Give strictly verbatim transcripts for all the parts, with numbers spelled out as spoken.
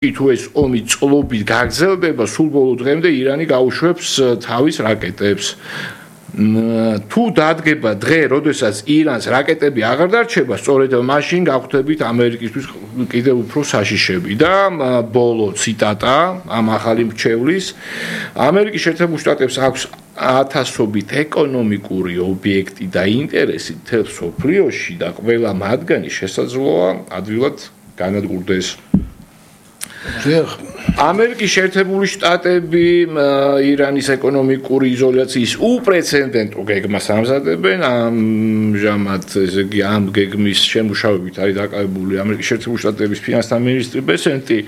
თუ ეს ომი წლობით გაგრძელდება, სულ ბოლო დღემდე ირანი გაუშვებს თავის რაკეტებს. თუ დადგება დღე, როდესაც ირანს რაკეტები აღარ დარჩება, სწორედ მაშინ გავხვდებით ამერიკისთვის კიდევ უფრო საშიშები და ბოლო ციტატა ამ ახალი მრჩევლის ამერიკის შეერთებულ შტატებს აქვს ათასობით ეკონომიკური ობიექტი და ინტერესი მთელ მსოფლიოში და ყველა მათგანი შესაძლოა ადვილად განადგურდეს. ამერიკის შეერთებული შტატები ირანის ეკონომიკური იზოლაციის უპრეცედენტო გეგმას ამზადებენ. ამჟამად ესე იგი ამ გეგმის შემუშავებით არის დაკავებული ამერიკის შეერთებული შტატების ფინანსთა მინისტრი ბესენტი.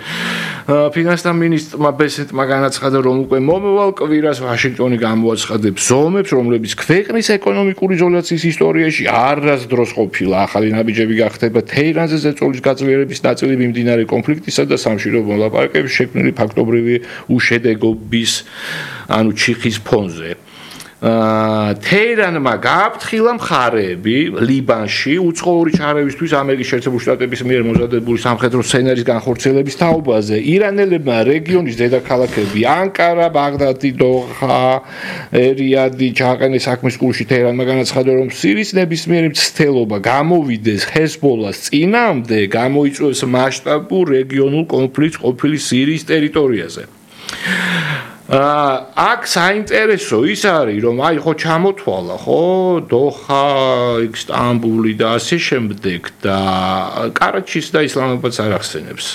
ფინანსთა მინისტრმა ბესენტმა განაცხადა, რომ უკვე მომავალ კვირას ვაშინგტონი გამოაცხადებს ზომებს, რომლებიც ქვეყნის ეკონომიკური იზოლაციის ისტორიაში არასდროს ყოფილა. ახალი ნაბიჯები გახდება თეირანზე ზეწოლის გაძლიერების ნაწილი მიმდინარე კონფლიქტისა და სამშვიდობო მოლაპარაკებების შექმნილი ფაქტობრივი უშედეგობის ანუ ჩიხის ფონზე. თეირანმა გააფრთხილა მხარეები ლიბანში უცხოური ჩარევისთვის ამერიკის შეერთებული შტატების მიერ მომზადებული სამხედრო სცენარის განხორციელების თაობაზე. ირანელებმა რეგიონის დედაქალაქები ანკარა, ბაღდადი, დოჰა, რიადი ჩააყენეს საქმის კურსში. თეირანმა განაცხადა, რომ სირიის ნებისმიერი მცდელობა გამოვიდეს ჰეზბოლას წინააღმდეგ, გამოიწვევს მასშტაბურ რეგიონულ კონფლიქტს ყოფილი სირიის ტერიტორიაზე. აქ საინტერესო ის არის, რომ აი ხო ჩამოთვალა, ხო, დოჰა, სტამბული და ასე შემდეგ და კარაჩის და ისლამაბადს არ ახსენებს.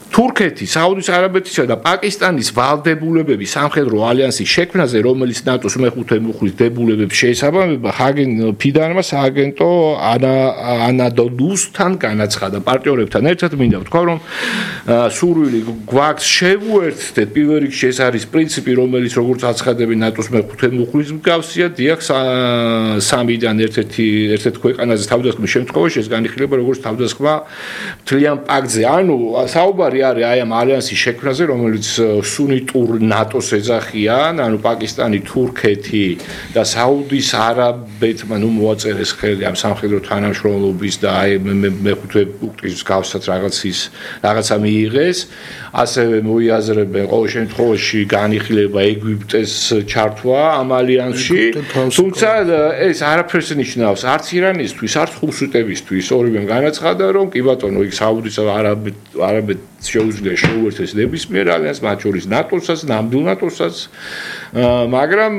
თურქეთი, საუდის არაბეთისა და პაკისტანის ვალდებულებების სამხედრო ალიანსის შექმნაზე, რომელიც ნატოს მეხუთე მუხლის დებულებებს შეესაბამება, ჰაგენ ფიდანმა სააგენტო ანადოლუსთან განაცხადა. პარტნიორებთან ერთად მინდა ვთქვა, რომ სურვილი გვაქვს შევუერთდეთ პირველ რიგში ეს არის პრინციპი, რომელიც როგორც აცხადებს ნატოს მეხუთე მუხლის მსგავსია, დიახ სამიდან ერთ-ერთი ერთ-ერთ ქვეყანაზე თავდასხმის შემთხვევაში ეს განიხილება როგორც თავდასხმა მთლიან პაქტზე. ანუ საუბარი არის აი ამ ალიანსის შექმნაზე, რომელიც სუნიტურ ნატოს ეძახიან, ანუ პაკისტანი, თურქეთი და საუდის არაბეთმა ნუ მოაწერეს ხელი ამ სამხედრო თანამშრომლობის და აი მეხუთე პუნქტის მსგავსად რაღაცის რაღაცა მიიღეს. ასევე მოიაზრებენ ყოველ შემთხვევაში განიხილება ეგვიპტეს ჩართვა ამ ალიანსში. თუმცა ეს არაფერს ნიშნავს არც ირანისთვის, არც ხურშიტებისთვის. ორივემ განაცხადა, რომ კი ბატონო, იქ საუდის არაბეთ არაბეთ შეუძლია შეუერთდეს ნებისმიერ ალიანსს, მათ შორის ნატოსაც, ნამდვილ ნატოსაც, მაგრამ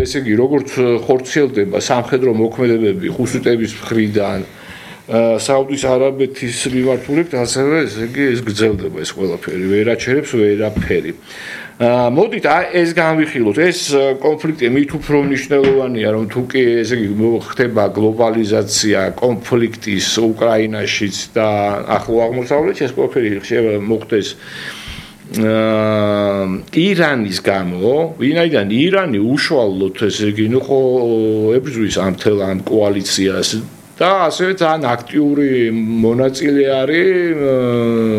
ესე იგი, როგორც ხორციელდება სამხედრო მოქმედებები ხურშიტების მხრიდან საუდის არაბეთის მიმართულებით, ასევე ესე იგი ეს გრძელდება ეს ყველაფერი, ვერ აჩერებს ვერაფერი. მოდით ეს განვიხილოთ, ეს კონფლიქტი მით უფრო მნიშვნელოვანია, რომ თუ კი ესე იგი ხდება გლობალიზაცია კონფლიქტის უკრაინაშიც და ახლო აღმოსავლეთში, ეს ყველაფერი შეიძლება მოხდეს ირანის გამო, ვინაიდან ირანი უშუალოდ ესე იგი ნუ ხო ებრძვის ამ თელ ამ კოალიციას და ასევე ძალიან აქტიური მონაწილე არის,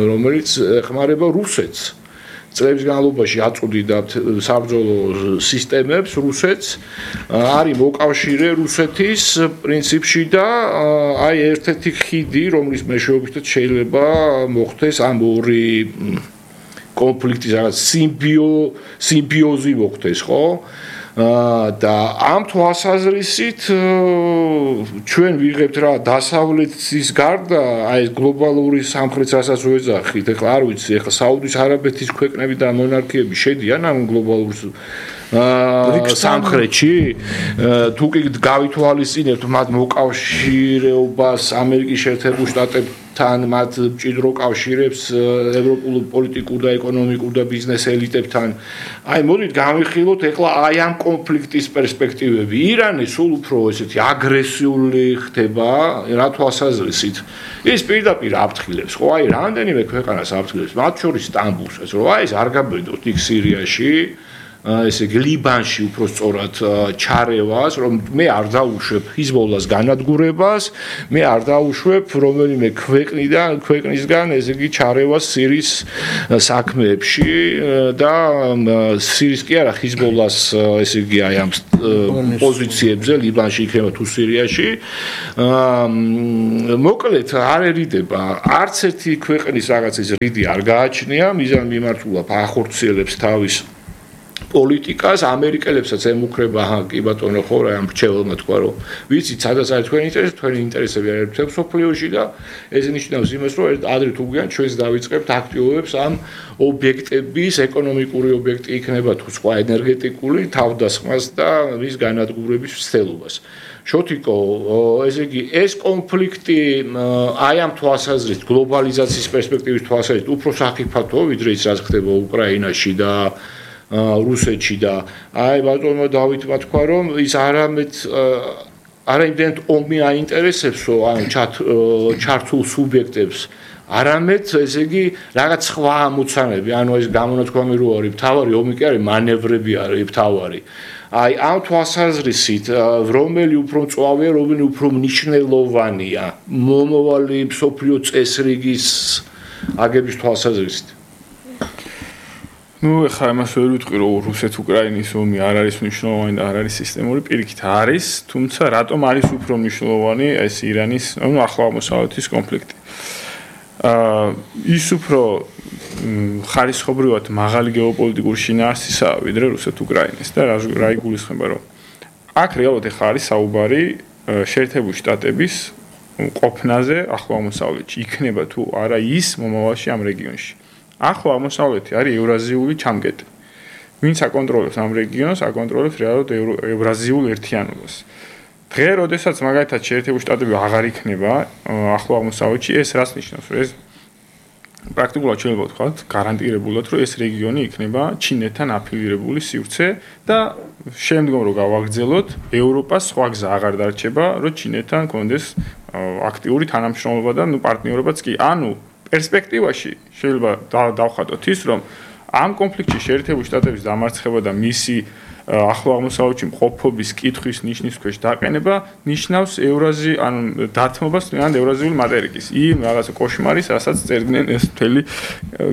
რომელიც ეხმარება რუსეთს. წლების განმავლობაში აწყვდიდა საბრძოლო სისტემებს რუსეთს, არის მოკავშირე რუსეთის პრინციპში და აი ერთ-ერთი ხიდი, რომლის მეშვეობითაც შეიძლება მოხდეს ამ ორი კონფლიქტის რაღაც სიმბიო სიმბიოზი მოხდეს, ხო? და ამ თვალსაზრისით ჩვენ ვიღებთ რა დასავლეთის გარდა აი ეს გლობალური სამხრეთს რასაც ვეძახით, ეხლა არ ვიცი, ეხლა საუდის არაბეთის ქვეყნები და მონარქიები შედიან ამ გლობალურ სამხრეთში, თუ კი გავითვალისწინებთ მათ მოკავშირეობას ამერიკის შეერთებულ შტატებთან, მათ მჭიდრო კავშირებს ევროპულ პოლიტიკურ და ეკონომიკურ და ბიზნეს ელიტებთან. აი მოდით განვიხილოთ ეხლა აი ამ კონფლიქტის პერსპექტივები. ირანი სულ უფრო ესეთი აგრესიული ხდება, რა თვალსაზრისით. ის პირდაპირ აფრთხილებს, ხო, აი რამდენიმე ქვეყანას აფრთხილებს, მათ შორის სტამბულსაც, რომ აი ეს არ გაბედოთ იქ სირიაში. ესე იგი ლიბანში უფრო სწორად ჩარევას, რომ მე არ დაუშვებ ჰიზბოლას განადგურებას, მე არ დაუშვებ რომელიმე ქვეყნიდან, ქვეყნისგან ესე იგი ჩარევას სირიის საქმეებში და სირიის კი არა ჰიზბოლას ესე იგი აი ამ პოზიციებზე ლიბანში იქნება თუ სირიაში. მოკლედ არერიდება არც ერთი ქვეყნის რაღაცის რიდი არ გააჩნია, მიზან მიმართულად ახორციელებს თავის პოლიტიკას, ამერიკელებსაც ემუქრება, აჰა, კი ბატონო, ხო რა ამ რჩეველმა თქვა, რომ ვიცით, სადაც არის თქვენი ინტერესი, თქვენი ინტერესები არის მთელ მსოფლიოში და ეს ნიშნავს იმას, რომ ადრე თუ გვიან ჩვენს დავიწყებთ აქტიობებს ამ ობიექტების, ეკონომიკური ობიექტი იქნება თუ სხვა ენერგეტიკული თავდასხმას და მის განადგურების მცდელობას. შოთიკო, ესე იგი, ეს კონფლიქტი აი ამ თვალსაზრისით, გლობალიზაციის პერსპექტივის თვალსაზრისით უფრო საფრთხეთო, ვიდრე ის რაც ხდება უკრაინაში და რუსეთში და აი ბატონო დავითმა თქვა რომ ის არამედ არაიმდენად ომი აინტერესებსო ანუ ჩართულ სუბიექტებს არამედ ესე იგი რაღაც სხვა ამოცანები ანუ ეს გამონათქვამი რო არის მთავარი ომი კი არის მანევრები არის მთავარი აი ამ თვალსაზრისით რომელი უფრო მწვავეა რომელი უფრო მნიშვნელოვანია მომავალი მსოფლიო წესრიგის აგების თვალსაზრისით ну, ეხლა იმას ვერ ვიტყვი, რომ რუსეთ-უკრაინის ომი არ არის მნიშვნელოვანი და არ არის სისტემური, პირიქით არის, თუმცა რატომ არის უფრო მნიშვნელოვანი ეს ირანის, ну, ახლა აღმოსავლეთის კონფლიქტი. აა ის უფრო ხარისხობრივად მაღალი გეოპოლიტიკური შინაარსისაა, ვიდრე რუსეთ-უკრაინის და რა იგულისხმება, რომ აქ რეალურად ეხლა არის საუბარი შეერთებული შტატების ყოფნაზე ახლა აღმოსავლეთში, იქნება თუ არა ის მომავალში ამ რეგიონში. ახლა აღმოსავლეთი არის ევრაზიული ჩამგეტი. ვინც აკონტროლებს ამ რეგიონს, აკონტროლებს რეალურად ევრაზიულ ერთიანობას. დღე, როდესაც მაგალითად შეერთებული შტატები აღარ იქნება ახლა აღმოსავლეთში, ეს რას ნიშნავს? ეს პრაქტიკულად შეიძლება ვთქვათ, გარანტირებულად, რომ ეს რეგიონი იქნება ჩინეთთან აფილირებული სივრცე და შემდგომ რო გავაგრძელოთ, ევროპას სხვა გზა აღარ დარჩება, რომ ჩინეთთან კონდეს აქტიური თანამშრომლობა და ნუ პარტნიორობაც კი. ანუ პერსპექტივაში შეიძლება დავხატოთ ის, რომ ამ კონფლიქტში შეერთებული შტატების დამარცხება და მისი ახლა აღმოსავლეთში მყოფობის კითხვის ნიშნის ქვეშ დაყენება ნიშნავს ევრაზი ან დათმობას ან ევრაზიული მატერიკის. იმ რაღაცა კოშმარის, რასაც წერდნენ ეს მთელი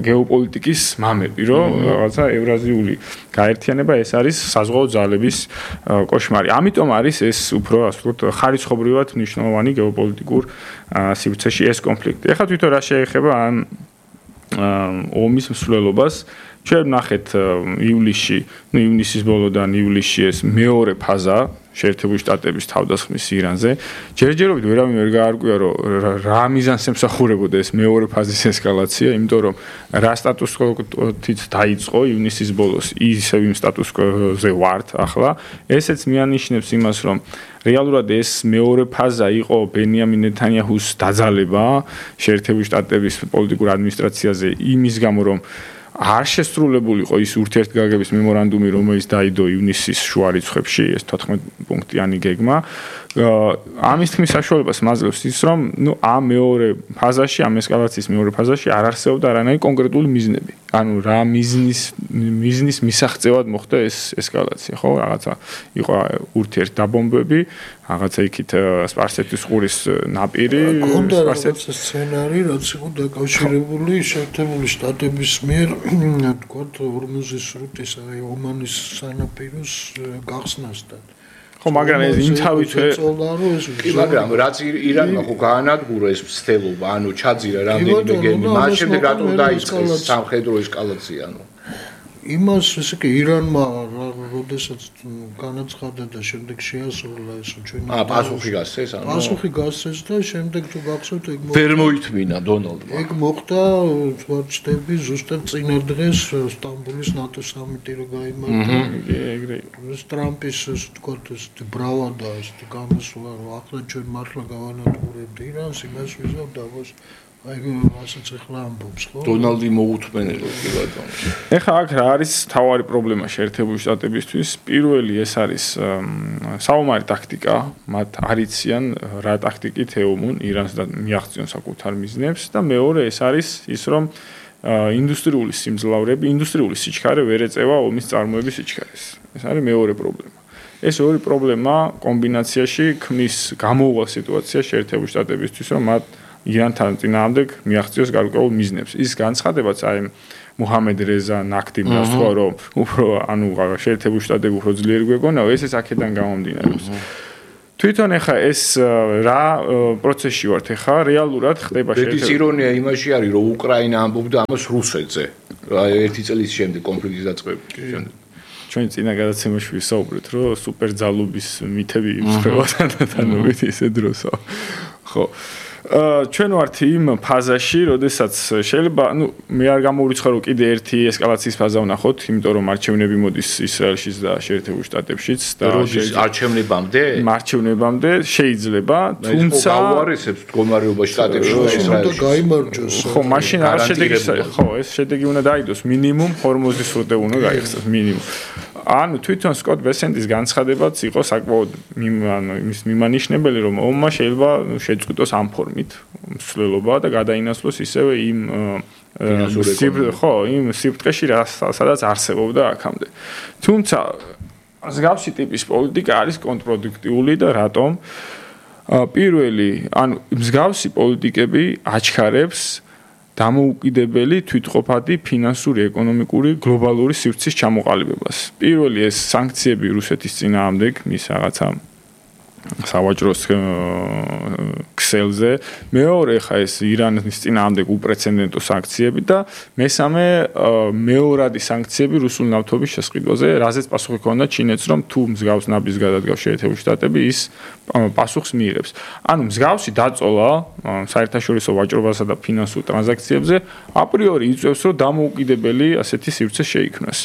გეოპოლიტიკის მამები, რომ რაღაცა ევრაზიული გაერთიანება ეს არის საზღვაო ძალების კოშმარი. ამიტომ არის ეს უფრო ასე ვთქვათ ხარისხობრივად მნიშვნელოვანი გეოპოლიტიკურ სივრცეში ეს კონფლიქტი. ეხლა თვითონ რა შეეხება ამ ომის მსვლელობას ჩვენ ნახეთ ივლისში, ну ივნისის ბოლოდან ივლისში ეს მეორე ფაზა შეერთებული შტატების თავდასხმის ირანზე. ჯერჯერობით ვერავინ ვერ გაარკვია, რომ რა მიზანს ემსახურებოდა ეს მეორე ფაზის ესკალაცია, იმიტომ რომ რა სტატუს კვოთიც დაიწყო ივნისის ბოლოს, ისევ იმ სტატუს კვოზე ვართ ახლა. ესეც მიანიშნებს იმას, რომ რეალურად ეს მეორე ფაზა იყო ბენიამინ ნეთანიაჰუს დაძალება შეერთებული შტატების პოლიტიკურ ადმინისტრაციაზე იმის გამო, რომ არ შესრულებულიყო ის ურთიერთგაგების მემორანდუმი, რომელიც დაიდო ივნისის შუა რიცხვებში, ეს თოთხმეტ პუნქტიანი გეგმა. ამის თქმის საშუალებას მაძლევს ის, რომ ნუ ამ მეორე ფაზაში, ამ ესკალაციის მეორე ფაზაში არ არსებობდა არანაირი კონკრეტული მიზნები. ანუ რა მიზნის მიზნის მისაღწევად მოხდა ეს ესკალაცია, ხო? რაღაცა იყო ურთიერთდაბომბები, რაღაცა იქით სპარსეთის ყურის ნაპირი, სპარსეთის სცენარი, რაც იყო დაკავშირებული შეერთებული შტატების მიერ, თქოთ, ორმუზის სრუტის, აი ომანის სანაპიროს გახსნასთან. ხო, მაგრამ ეს იმთავით კი, მაგრამ რაც ირანმა ხო გაანადგურა ეს მცდელობა, ანუ ჩაძირა რამდენიმე გემი, მას შემდეგ რატომ დაიწყეს სამხედრო ესკალაცია, ანუ იმას ესე კი ირანმა როდესაც განაცხადა და შემდეგ შეასრულა ეს ჩვენი აა პასუხი გასცეს, ანუ პასუხი გასცეს და შემდეგ თუ გახსოვთ ეგ ვერ მოითმინა დონალდმა. ეგ მოხდა ვარჩდები ზუსტად წინა დღეს სტამბოლის ნატო სამიტი რო გაიმართა. ეგრე ეს ტრამპის ასე ვთქვათ ეს ბრავადა ეს გამოსვლა რომ ახლა ჩვენ მართლა გავანადგურებთ ირანს, იმას ვიზავ დავოს აი რასაც ახლა ამბობს, ხო? დონალდი მოუთმენელო კი ბატონო. ეხლა აქ რა არის თავარი პრობლემა შეერთებული შტატებისთვის? პირველი ეს არის საომარი ტაქტიკა, მათ არიციან რა ტაქტიკით ეომუნ ირანს და მიაღწიონ საკუთარ მიზნებს და მეორე ეს არის ის რომ ინდუსტრიული სიმძლავრეები, ინდუსტრიული სიჩქარე ვერ ეწევა ომის წარმოების სიჩქარეს. ეს არის მეორე პრობლემა. ეს ორი პრობლემა კომბინაციაში ქმნის გამოუვალ სიტუაციას შეერთებული შტატებისთვის, რომ მათ ირანთან წინააღმდეგ მიაღწიოს გარკვეულ მიზნებს. ის განცხადებაც აი მუჰამედ რეზა ნაკდიმას თქვა, რომ უფრო ანუ შეერთებული შტატები უფრო ძლიერი გვეგონა, ეს ეს აქედან გამომდინარეობს. თვითონ ეხა ეს რა პროცესში ვართ ეხა რეალურად ხდება შეერთებული შტატები. ირონია იმაში არის, რომ უკრაინა ამბობდა ამას რუსეთზე. ერთი წლის შემდეგ კონფლიქტის დაწყების შემდეგ. ჩვენ წინა გადაცემაში ვისაუბრეთ, რომ სუპერძალობის მითები იმსხება თანამედროვე ისე დროსა. ხო. ჩვენ ვართ იმ ფაზაში, როდესაც შეიძლება, ну, მე არ გამოვიცხარო კიდე ერთი ესკალაციის ფაზა ვნახოთ, იმიტომ რომ არჩევნები მოდის ისრაელშიც და შეერთებულ შტატებშიც და როდის არჩევნებამდე? არჩევნებამდე შეიძლება, თუმცა გაუარესებს მდგომარეობა შტატებში და ისრაელში. გაიმარჯოს. ხო, მაშინ არ შედეგი, ხო, ეს შედეგი უნდა დაიდოს, მინიმუმ ხორმოცი სრუტე უნდა გაიხსნას, მინიმუმ. ანუ თვითონ სკოტ ბესენტის განცხადებაც იყო საკმაოდ იმის მიმანიშნებელი, რომ ომმა შეიძლება შეწყვიტოს ამ ფორმით მსვლელობა და გადაინაცვლოს ისევე იმ ხო, იმ სიბრტყეში, სადაც არსებობდა აქამდე. თუმცა მსგავსი ტიპის პოლიტიკა არის კონტრპროდუქტიული და რატომ? პირველი, ანუ მსგავსი პოლიტიკები აჩქარებს დამოუკიდებელი, თვითყოფადი, ფინანსური, ეკონომიკური, გლობალური სივრცის ჩამოყალიბებას. პირველი ეს სანქციები რუსეთის წინააღმდეგ, მის რაღაცა სავაჭროს ქსელზე, მეორე ხა ეს ირანის წინააღმდეგ უპრეცედენტო სანქციები და მესამე მეორადი სანქციები რუსულ ნავთობის შესყიდვაზე, რაზეც პასუხი ჰქონდა ჩინეთს, რომ თუ მსგავს ნაბიჯს გადადგავს შეერთებული შტატები, ის პასუხს მიიღებს. ანუ მსგავსი დაწოლა საერთაშორისო ვაჭრობასა და ფინანსურ ტრანზაქციებზე აპრიორი იწევს, რომ დამოუკიდებელი ასეთი სივრცე შეიქმნას.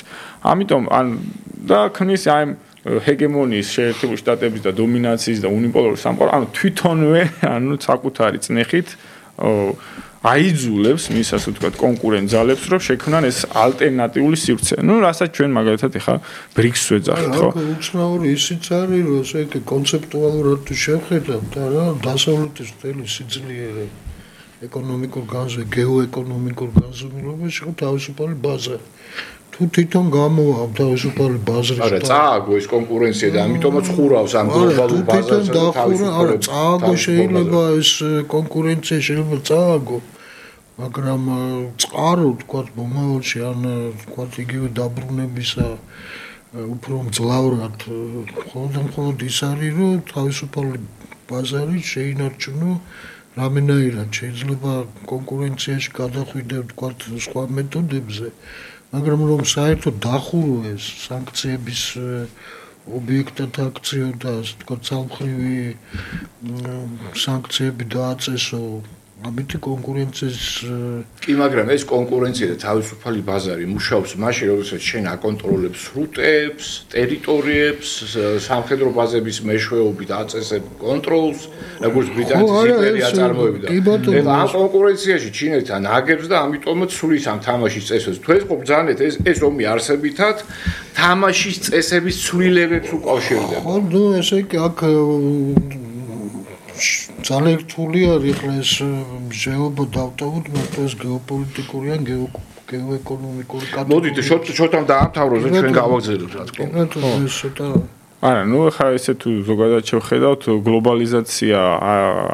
ამიტომ ან და ქმნის აი ჰეგემონიის შეერთებული შტატების და დომინაციის და უნიპოლარის სამყარო, ანუ თვითონვე, ანუ საკუთარი წნეხით აიძულებს მის ასე ვთქვათ კონკურენტ ძალებს, რომ შექმნან ეს ალტერნატიული სივრცე. ნუ რასაც ჩვენ მაგალითად ეხა ბრიქსს ვეძახით, ხო? აი, უცნაური ისიც არის, რომ ესე იგი კონცეპტუალურად თუ შევხედავთ, რა, დასავლეთის მთელი სიძლიერე ეკონომიკურ განზე, გეოეკონომიკურ განზომილებაში ხო თავისუფალი ბაზარი. თუ თვითონ გამოვა თავისუფალი ბაზრის არა წააგო ეს კონკურენცია და ამიტომაც ხურავს ამ გლობალურ ბაზარს და თავისუფალი არა წააგო შეიძლება ეს კონკურენცია შეიძლება წააგო მაგრამ წყარო თქვათ მომავალში ან თქვათ იგივე დაბრუნებისა უფრო მძლავრად მხოლოდ ის არის რომ თავისუფალი ბაზარი შეინარჩუნო რამენაირად შეიძლება კონკურენციაში გადახვიდე თქვათ სხვა მეთოდებზე მაგრამ რომ საერთოდ დახურო ეს სანქციების ობიექტად აქციო და ასე თქვა ცალმხრივი სანქციები დააწესო ამით კონკურენციის კი მაგრამ ეს კონკურენცია და თავისუფალი ბაზარი მუშაობს მაშინ როდესაც შენ აკონტროლებს სრუტებს, ტერიტორიებს, სამხედრო ბაზების მეშვეობით აწესებ კონტროლს, როგორც ბრიტანეთის იმპერია წარმოებდა. ეხლა ამ კონკურენციაში ჩინეთთან აგებს და ამიტომაც სulis ამ თამაშის წესებს. თუ ეს ყოფძანეთ ეს ეს ომი არსებითად თამაშის წესების ცვლილებებს უკავშირდება. ხო, ნუ ესე იგი აქ ძალიან რთული არის ახლა ეს ჟეობა დავტოვოთ, მაგრამ ეს გეოპოლიტიკური ან გეოეკონომიკური კატეგორია. მოდით შოთამ დაამთავროს და ჩვენ გავაგზავნოთ რა თქმა უნდა. ეს ცოტა არა, ნუ ხა ესე თუ ზოგადად შევხედავთ, გლობალიზაცია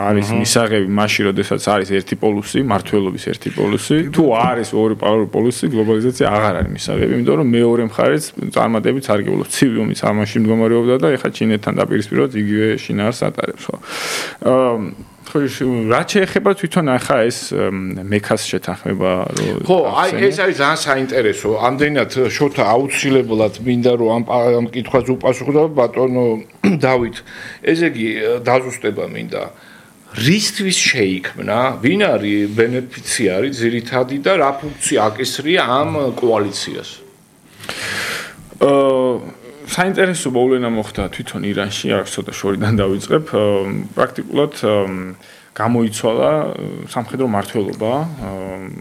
არის მისაღები მაშინ, როდესაც არის ერთი პოლუსი, მართლობის ერთი პოლუსი. თუ არის ორი პოლუსი, გლობალიზაცია აღარ არის მისაღები, იმიტომ რომ მეორე მხარეც წარმატებით სარგებლობს. ცივი ომის ამაში მდგომარეობდა და ეხა ჩინეთთან დაპირისპიროთ იგივე შინაარს ატარებს, ხო. აა ხო, რა შეეხება თვითონ ახლა ეს მექას შეთანხმება, რომ ხო, აი ეს არის ძალიან საინტერესო. ამდენად შოთა აუცილებლად მინდა რომ ამ ამ კითხვაზე უპასუხო ბატონო დავით. ესე იგი დაზუსტება მინდა. რისთვის შეიქმნა, ვინ არის ბენეფიციარი ძირითადი და რა ფუნქცია აკისრია ამ კოალიციას? აა საინტერესო მოვლენა მოხდა თვითონ ირანში, არ ცოტა შორიდან დავიწყებ. პრაქტიკულად გამოიცვალა სამხედრო მმართველობა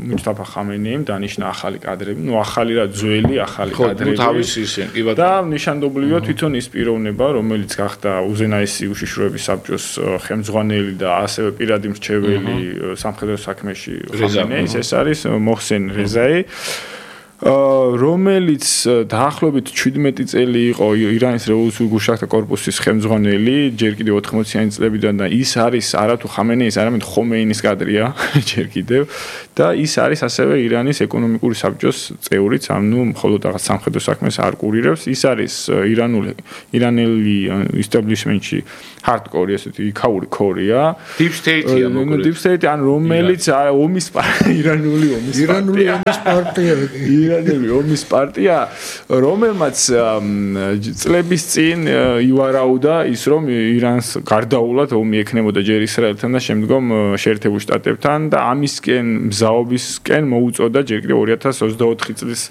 მუსტაფა ხამენეიმ დანიშნა ახალი კადრები, ну ახალი რა ძველი ახალი კადრები. ხო, თავისი ისინი, კი ბატონო. და ნიშანდობლივია თვითონ ის პიროვნება, რომელიც გახდა უზენაესი უშიშროების საბჭოს ხელმძღვანელი და ასევე პირადი მრჩეველი სამხედრო საქმეში ხამენეის, ეს არის მოხსენ რეზაი. რომელიც დაახლოებით შვიდმეტი წელი იყო ირანის რევოლუციური გუშახთა კორპუსის ხელმძღვანელი, ჯერ კიდევ ოთხმოციანი წლებიდან და ის არის არათუ ხამენეის, არამედ ხომეინის კადრია, ჯერ კიდევ და ის არის ასევე ირანის ეკონომიკური საბჭოს წევრიც, ანუ მხოლოდ რაღაც სამხედრო საქმეს არ კურირებს, ის არის ირანული ირანელი establishment-ში hardcore, ესეთი იქაური ქორია. Deep state-ია მოკლედ. Deep state, ან რომელიც ომის ირანული ომის ირანული ომის პარტია. ირანული ომის პარტია, რომელმაც წლების წინ ივარაუდა ის, რომ ირანს გარდაულად ომი ექნებოდა ჯერ ისრაელთან და შემდგომ შეერთებულ შტატებთან და ამისკენ მზაობისკენ მოუწოდა ჯერ კიდევ ორი ათას ოცდაოთხი წლის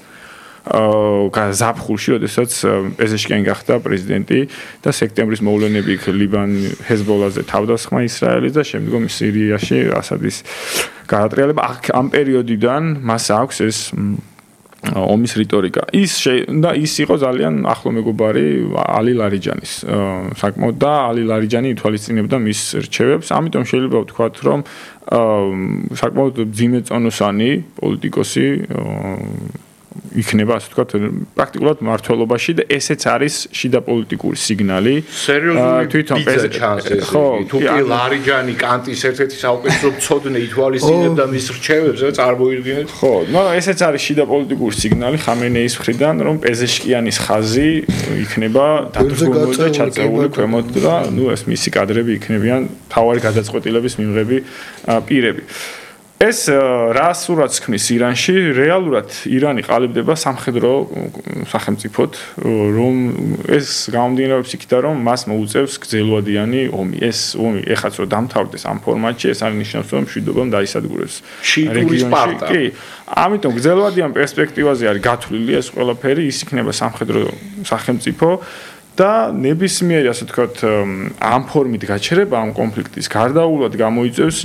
აა ზაფხულში, როდესაც პეზეშკიანი გახდა პრეზიდენტი და სექტემბრის მოვლენები იქ ლიბან ჰეზბოლაზე თავდასხმა ისრაელის და შემდგომ სირიაში ასადის გადატრიალება. ამ პერიოდიდან მას აქვს ეს ომის რიტორიკა. ის და ის იყო ძალიან ახლო მეგობარი ალი ლარიჯანის. საკმაოდ და ალი ლარიჯანი ითვალისწინებდა მის რჩევებს. ამიტომ შეიძლება ვთქვათ, რომ საკმაოდ ძიმე წონოსანი პოლიტიკოსი იქნება, ასე ვთქვათ, პრაქტიკულად მმართველობაში და ესეც არის შიდა პოლიტიკური სიგნალი. სერიოზული ბიძა ჩანს ეს. თუ კი ლარიჯანი კანტის ერთ-ერთი საუკეთესო მცოდნე ითვალისწინებდა მის რჩევებს, წარმოიდგინეთ. ხო, მაგრამ ესეც არის შიდა პოლიტიკური სიგნალი ხამენეის მხრიდან, რომ პეზეშკიანის ხაზი იქნება დადგმული და ჩაწეული ქვემოთ და ნუ ეს მისი კადრები იქნებიან თავარი გადაწყვეტილების მიმღები პირები. ეს რა სურათს ქმნის ირანში, რეალურად ირანი ყალიბდება სამხედრო სახელმწიფოდ, რომ ეს გამომდინარეობს იქიდან, რომ მას მოუწევს გრძელვადიანი ომი. ეს ომი ეხაც რომ დამთავრდეს ამ ფორმატში, ეს არ ნიშნავს, რომ მშვიდობამ დაისადგურებს შიიტური სპარტა. კი, ამიტომ გრძელვადიან პერსპექტივაზე არის გათვლილი ეს ყველაფერი, ის იქნება სამხედრო სახელმწიფო და ნებისმიერი, ასე ვთქვათ, ამ ფორმით გაჩერება ამ კონფლიქტის გარდაუვლად გამოიწევს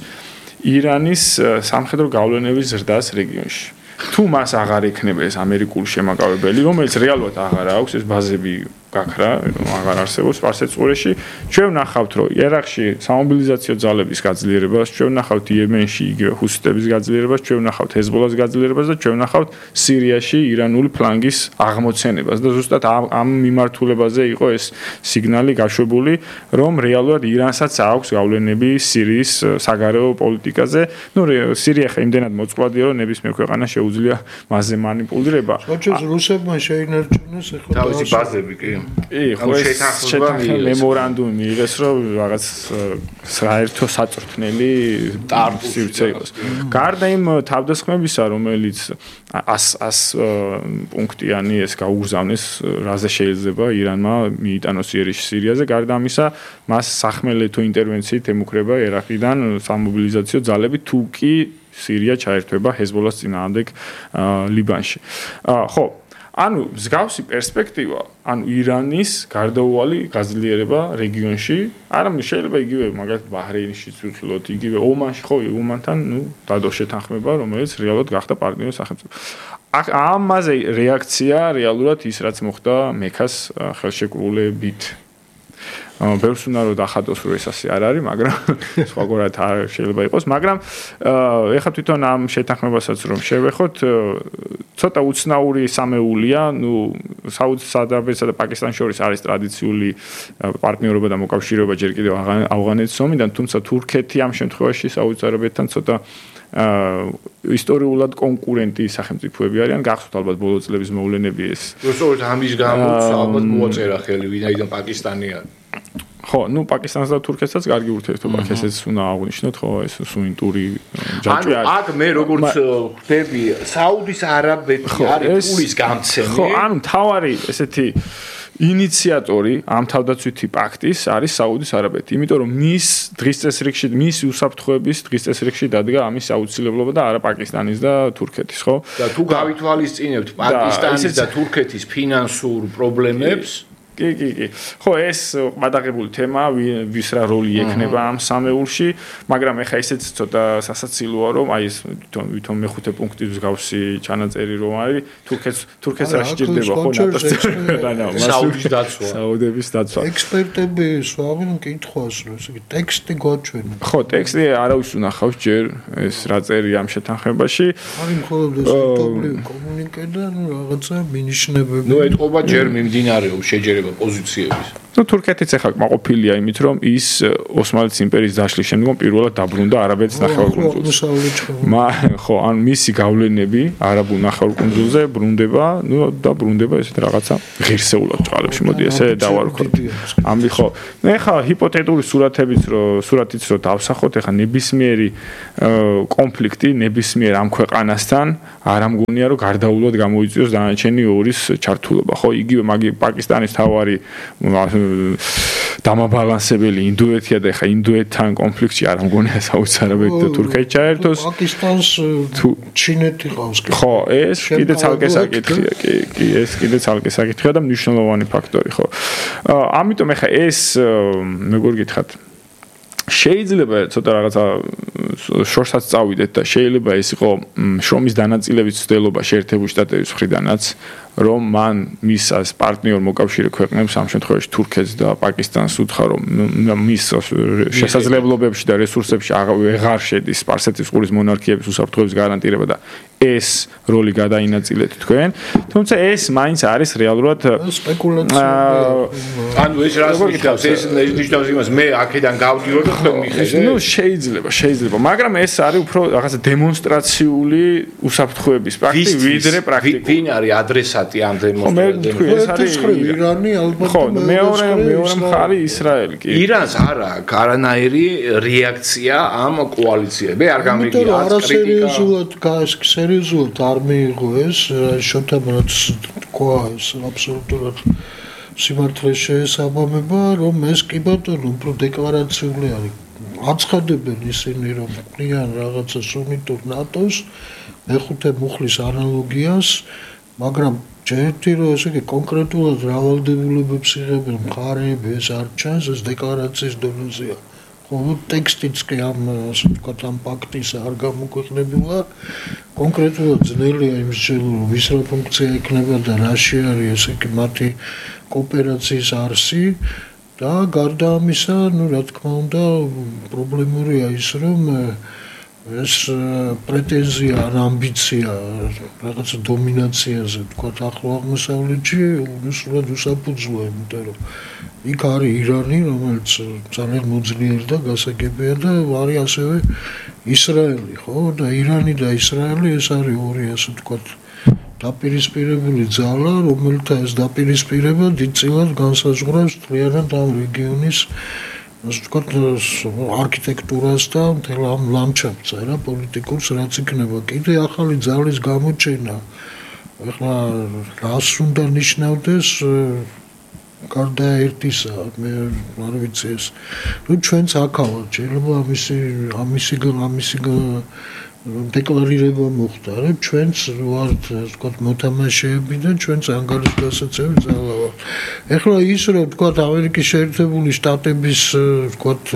ირანის სამხედრო გავლენების ზრდას რეგიონში. თუ მას აღარ ექნება ეს ამერიკული შემაკავებელი, რომელიც რეალურად აღარ აქვს, ეს ბაზები გაქრა, აღარ არსებობს სპარსეთწყურეში, ჩვენ ვნახავთ, რომ ერაყში სამობილიზაციო ძალების გაძლიერებას, ჩვენ ვნახავთ იემენში იგივე ჰუსიტების გაძლიერებას, ჩვენ ვნახავთ ჰეზბოლას გაძლიერებას და ჩვენ ვნახავთ სირიაში ირანული ფლანგის აღმოცენებას და ზუსტად ამ მიმართულებაზე იყო ეს სიგნალი გაშვებული, რომ რეალურად ირანსაც აქვს გავლენები სირიის საგარეო პოლიტიკაზე. ნუ სირია ხა იმდენად მოწყვლადია, რომ ნებისმიერ ქვეყანას შეუძლია მასზე მანიპულირება. ხოჭეს რუსებმა შეინარჩუნეს ახლა თავისი ბაზები კი. კი, ხო ეს შეთანხმება მემორანდუმი მიიღეს, რომ რაღაც საერთო საწვრთნელი სივრცე იყოს. გარდა იმ თავდასხმებისა, რომელიც ას პუნქტიანი ეს გაუგზავნეს, რაზე შეიძლება ირანმა მიიტანოს იერიშ სირიაზე, გარდა ამისა, მას სახმელეთო ინტერვენციით ემუქრება ერაყიდან სამობილიზაციო ძალები, თუ კი სირია ჩაერთვება ჰეზბოლას წინააღმდეგ ლიბანში. ხო, ანუ მსგავსი პერსპექტივა, ანუ ირანის გარდაუვალი გაძლიერება რეგიონში, არამედ შეიძლება იგივე მაგალითად ბაჰრეინში ვთვლოთ, იგივე ომანში, ხო, ომანთან, ნუ დადო შეთანხმება, რომელიც რეალურად გახდა პარტნიორი სახელმწიფო. ამაზე რეაქცია რეალურად ის, რაც მოხდა მექას ხელშეკრულებით. ბევრს უნდა რომ დახატოს, რომ ეს ასე არ არის, მაგრამ სხვაგვარად არ შეიძლება იყოს, მაგრამ ეხლა თვითონ ამ შეთანხმებასაც რომ შევეხოთ, ცოტა უცნაური სამეულია, ნუ საუდის არაბეთსა და პაკისტანს შორის არის ტრადიციული პარტნიორობა და მოკავშირეობა ჯერ კიდევ ავღანეთის ომიდან, თუმცა თურქეთი ამ შემთხვევაში საუდის არაბეთთან ცოტა ისტორიულად კონკურენტი სახელმწიფოები არიან, გახსოვთ ალბათ ბოლო წლების მოვლენები ეს. უბრალოდ ამის გამო ალბათ მოაწერა ხელი, ვინაიდან პაკისტანი არის. ხო, ნუ პაკისტანს და თურქეთსაც კარგი ურთიერთობა აქვს, ესეც უნდა აღვნიშნოთ, ხო, ეს სუნიტური ჯაჭვი არის. აქ მე როგორც ხვდები, საუდის არაბეთი არის პულის გამცემი. ხო, ანუ მთავარი ესეთი ინიციატორი ამ თავდაცვითი პაქტის არის საუდის არაბეთი, იმიტომ რომ მის დღის წესრიგში, მის უსაფრთხოების დღის წესრიგში დადგა ამის აუცილებლობა და არა პაკისტანის და თურქეთის, ხო? და თუ გავითვალისწინებთ პაკისტანის და თურქეთის ფინანსურ პრობლემებს, კი, კი, კი. ხო, ეს გადაღებული თემაა, ვის რა როლი ექნება ამ სამეულში, მაგრამ ეხა ისეც ცოტა სასაცილოა, რომ აი ეს თვითონ მეხუთე პუნქტი მსგავსი ჩანაწერი რომ არის, თურქეთს თურქეთს რა შეჭირდება ხო ნატოს რანა, საუდის დაცვა. საუდების დაცვა. ექსპერტები სვავენ კითხვას, რომ ესე იგი ტექსტი გვაჩვენა. ხო, ტექსტი არავის უნახავს ჯერ ეს რა წერია ამ შეთანხმებაში. არის მხოლოდ ეს პუბლიკ კომუნიკე და ნუ რაღაცა მინიშნებები. ნუ ეთყობა ჯერ მიმდინარეობს შეჯერება პოზიციების. ну თურქეთიც ახლა კმაყოფილია იმით რომ ის ოსმალეთის იმპერიის დაშლის შემდგომ პირველად დაბრუნდა არაბეთის ნახევარკუნძულზე. მა ხო ან მისი გავლენები არაბულ ნახევარკუნძულზე ბრუნდება, ну და ბრუნდება ესეთ რაღაცა ღირსეულად წყალებში. მოდი ესე დავარქვათ. ამი ხო. ну ახლა ჰიპოთეტური სურათებიც რო სურათიც რო დავსახოთ, ახლა ნებისმიერი კონფლიქტი ნებისმიერ ამ ქვეყანასთან არ ამგონია რომ გარდაულად გამოიწვიოს დანარჩენი ორის ჩართულობა. ხო, იგივე მაგი პაკისტანის თავარი დამაბალანსებელი ინდოეთია და ხა ინდოეთთან კონფლიქტში არ ამგონია საოცარად და თურქეთი ჩაერთოს. პაკისტანს ჩინეთი ყავს. ხო, ეს კიდე ცალკე საკითხია, კი, კი, ეს კიდე ცალკე საკითხია და მნიშვნელოვანი ფაქტორი, ხო. ამიტომ ხა ეს მეგორი გითხათ შეიძლება ცოტა რაღაცა შორსაც წავიდეთ და შეიძლება ეს იყო შრომის დანაწილების ცდელობა შეერთებული შტატების მხრიდანაც რომ მან მის as პარტნიორ მოკავშირე ქვეყნებს ამ შემთხვევაში თურქეთს და პაკისტანს უთხრა რომ მის შესაძლებლობებში და რესურსებში აღარ შედის სპარსეთის ყურის მონარქიების უსაფრთხოების გარანტირება და ეს როლი გადაინაწილეთ თქვენ თუმცა ეს მაინც არის რეალურად სპეკულაცია ანუ ეს რას ნიშნავს ეს ნიშნავს იმას მე აქედან გავდივარ და ხომ მიხედე ну შეიძლება შეიძლება მაგრამ ეს არის უფრო რაღაცა დემონსტრაციული უსაფრთხოების პრაქტიკა ვიდრე პრაქტიკა ვინ არის ადრესატი ამ დემონსტრაციებში ეს არის ირანი ალბათ ხო მეორე მეორე მხარე ისრაელი კი ირანს არ აქვს არანაირი რეაქცია ამ კოალიციებე არ გამიგია კრიტიკა სერიოზულად არ მიიღო ეს შოთაბაც თქვა ეს აბსოლუტურად სიმართლეს შეესაბამება რომ ეს კი ბატონო უფრო დეკლარაციული არის აცხადებენ ისინი რომ ყვიან რაღაცა სუნიტურ ნატოს მეხუთე მუხლის ანალოგიას მაგრამ ჯერტი რომ ესე იგი კონკრეტულად რავალდებულებებს იღებენ მხარეები ეს არ ჩანს ეს დეკლარაციის დონეზეა ну текстიც კი ამ ასე ვთქვათ ამ პაქტის არ გამოქვეყნებულა კონკრეტულად ძნელია იმის შეძლო ვის რა ფუნქცია ექნება და რაში არის ესე იგი მათი კოოპერაციის არსი და გარდა ამისა ну რა თქმა უნდა პრობლემურია ის რომ ეს პრეტენზია ან ამბიცია რაღაცა დომინაციაზე ვთქვათ ახლო აღმოსავლეთში უბრალოდ უსაფუძვია იმიტომ რომ იქ არის ირანი რომელიც ძალიან მოძლიერი და გასაგებია და არის ასევე ისრაელი ხო და ირანი და ისრაელი ეს არის ორი ასე ვთქვათ დაპირისპირებული ძალა რომელთა ეს დაპირისპირება დიდწილად განსაზღვრავს მთლიანად ამ რეგიონის ასე ვთქვათ არქიტექტურას და მთელ ამ ლანდშაფტს რა პოლიტიკურს რაც იქნება კიდე ახალი ძალის გამოჩენა ეხლა რას უნდა ნიშნავდეს გარდა ერთისა მე არ ვიცი ეს რომ ჩვენც აქავთ შეიძლება ამისი ამისი ამისი დეკლარირება მოხდა რა ჩვენც ვართ ვთქვათ მოთამაშეები და ჩვენც ანგარიშ გასაცემი ძალა ვართ ეხლა ის რომ ვთქვათ ამერიკის შეერთებული შტატების ვთქვათ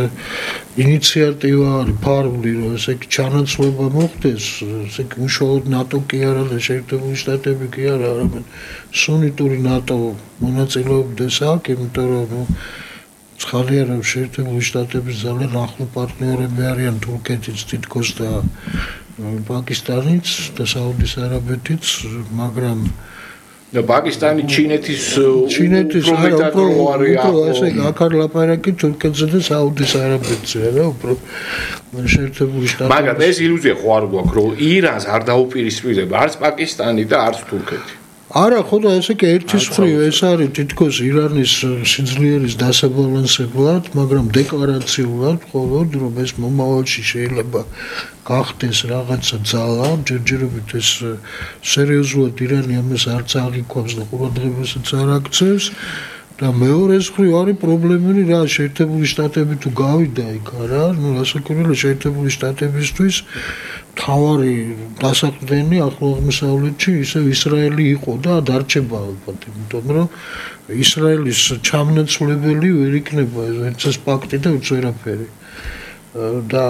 ინიციატივა არის ფარული რომ ესე იგი ჩანაცვლება მოხდეს ესე იგი უშუალოდ ნატო კი არა და შეერთებული შტატები კი არა არამედ სუნიტური ნატო მონაწილეობდეს აქ იმიტომ რომ ცხადია რომ შეერთებული შტატების ძალიან ახლო პარტნიორები არიან თურქეთიც თითქოს და პაკისტანიც და საუდის არაბეთიც მაგრამ და პაკისტანი ჩინეთის ჩინეთის უფრო ესე აქ არ ლაპარაკი თურქეთზე და საუდის არაბეთზე რა უფრო შეერთებული შტატები მაგრამ ეს ილუზია ხო არ გვაქვს რომ ირანს არ დაუპირისპირდება არც პაკისტანი და არც თურქეთი არა ხო და ესე კი ერთის მხრივ ეს არის თითქოს ირანის სიძლიერის დასაბალანსებლად მაგრამ დეკლარაციულად მხოლოდ რომ ეს მომავალში შეიძლება გახდეს რაღაცა ძალა ჯერჯერობით ეს სერიოზულად ირანი ამას არც აღიქვამს და ყურადღებასაც არ აქცევს და მეორეს მხრივ არის პრობლემები რა შეერთებული შტატები თუ გავიდა იქ არა ნუ რასაკვირველია შეერთებული შტატებისთვის თავარი დასაყრდენი ახლო აღმოსავლეთში ისევ ისრაელი იყო და დარჩება ალბათ იმიტომ რომ ისრაელის ჩამნაცვლებელი ვერ იქნება ეს ფაქტი და უც ვერაფერი და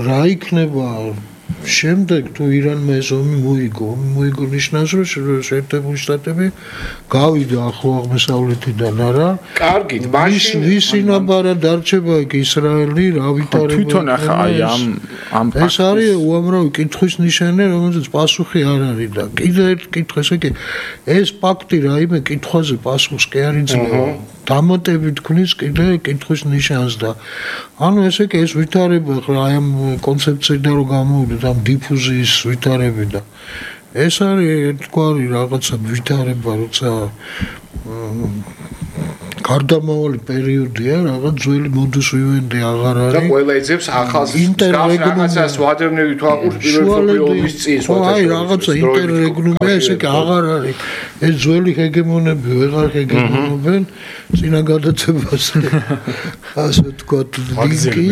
რა იქნება შემდეგ თუ ირანმა ეს ომი მოიგო, ომი მოიგო ნიშნავს რომ შეერთებული შტატები გავიდა ახლო აღმოსავლეთიდან არა. კარგით, მაშინ ვისი ნაბარა დარჩება იქ ისრაელი, რა ვითარება. თვითონ ახლა აი ამ ამ ეს არის უამრავი კითხვის ნიშანი, რომელზეც პასუხი არ არის და კიდე ერთ კითხვა ესე კი ეს ფაქტი რაიმე კითხვაზე პასუხს კი არ იძლევა. დამატებით ქმნის კიდე კითხვის ნიშანს და ანუ ესე კი ეს ვითარება ხა აი ამ კონცეფციიდან რომ გამოვიდეთ ამ დიფუზიის ვითარები და ეს არის ერთგვარი რაღაცა ვითარება როცა გარდამავალი პერიოდია რაღაც ძველი მოდუს ვივენდი აღარ არის და ყველა ეძებს ახალს რაღაცას ვადევნები თვალყურს პირველი ომის წინ აი რაღაცა ინტერრეგნუმია ესე კი აღარ არის ეს ძველი ჰეგემონები ვეღარ ჰეგემონობენ წინა გადაცემას ასე ვთქვათ ლინკი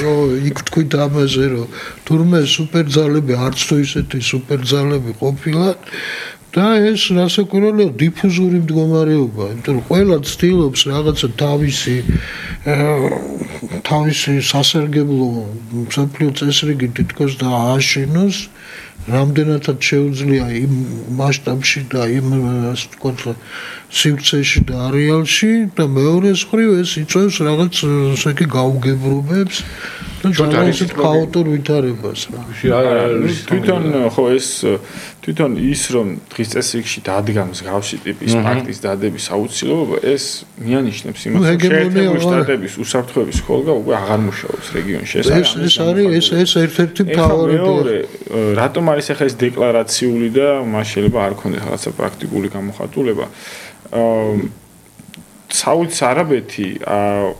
რომ იქ თქვით ამაზე რომ თურმე სუპერძალები არც თუ ისეთი სუპერძალები ყოფილან და ეს რასაკვირველია დიფუზური მდგომარეობა, იმიტომ რომ ყველა ცდილობს რაღაცა თავისი თავისი სასარგებლო მსოფლიო წესრიგი თითქოს დააშენოს, რამდენადაც შეუძლია იმ მასშტაბში და იმ ასე ვთქვათ სივრცეში და არეალში და მეორეს მხრივ ეს იწვევს რაღაც ესე იგი გაუგებრობებს და ძალიანად ქაოტურ ვითარებას რა. თვითონ ხო ეს თვითონ ის რომ დღის წესრიგში დადგა მსგავსი ტიპის ფაქტის დადების აუცილებლობა ეს მიანიშნებს იმას რომ შეერთებული შტატების უსაფრთხოების ხოლმე უკვე აღარ მუშაობს რეგიონში ეს არის ეს არის ეს ეს ერთ-ერთი მთავარი რატომ არის ახლა ეს დეკლარაციული და მას შეიძლება არ ქონდეს რაღაცა პრაქტიკული გამოხატულება საუდის არაბეთი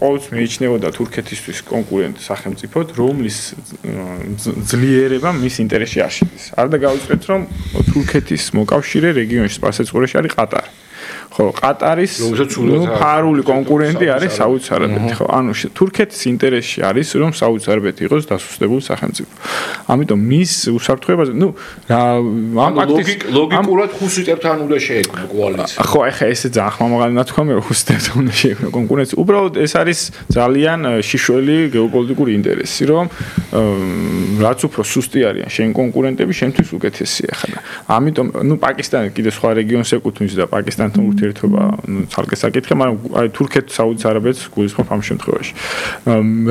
ყოველთვის მიიჩნეოდა თურქეთისთვის კონკურენტ სახელმწიფოდ, რომლის ძლიერება მის ინტერესში არ შედის. არ და გავიწყეთ რომ თურქეთის მოკავშირე რეგიონში სპარსეთწყურეში არის ყატარი. ხო, ყატარის ნუ ფარული კონკურენტი არის საუდის არაბეთი, ხო? ანუ თურქეთის ინტერესში არის რომ საუდის არაბეთი იყოს დასუსტებული სახელმწიფო. ამიტომ მის უსაფრთხოებაზე, ნუ ამ ფაქტის ლოგიკურად ხუსიტებთან უნდა შეექმნა კოალიცია. ხო, ეხა ესე ძალიან ხმამაღალი ნათქვამია რომ ხუსიტებთან უნდა შეექმნა კონკურენცია. უბრალოდ ეს არის ძალიან შიშველი გეოპოლიტიკური ინტერესი, რომ რაც უფრო სუსტი არიან შენ კონკურენტები, შენთვის უკეთესია ხა. ამიტომ ნუ პაკისტანი კიდე სხვა რეგიონს ეკუთვნის და პაკისტანთან ურთიერთობა ნუ ცალკე საკითხია, მაგრამ აი თურქეთს საუდის არაბეთს გულისხმობ ამ შემთხვევაში.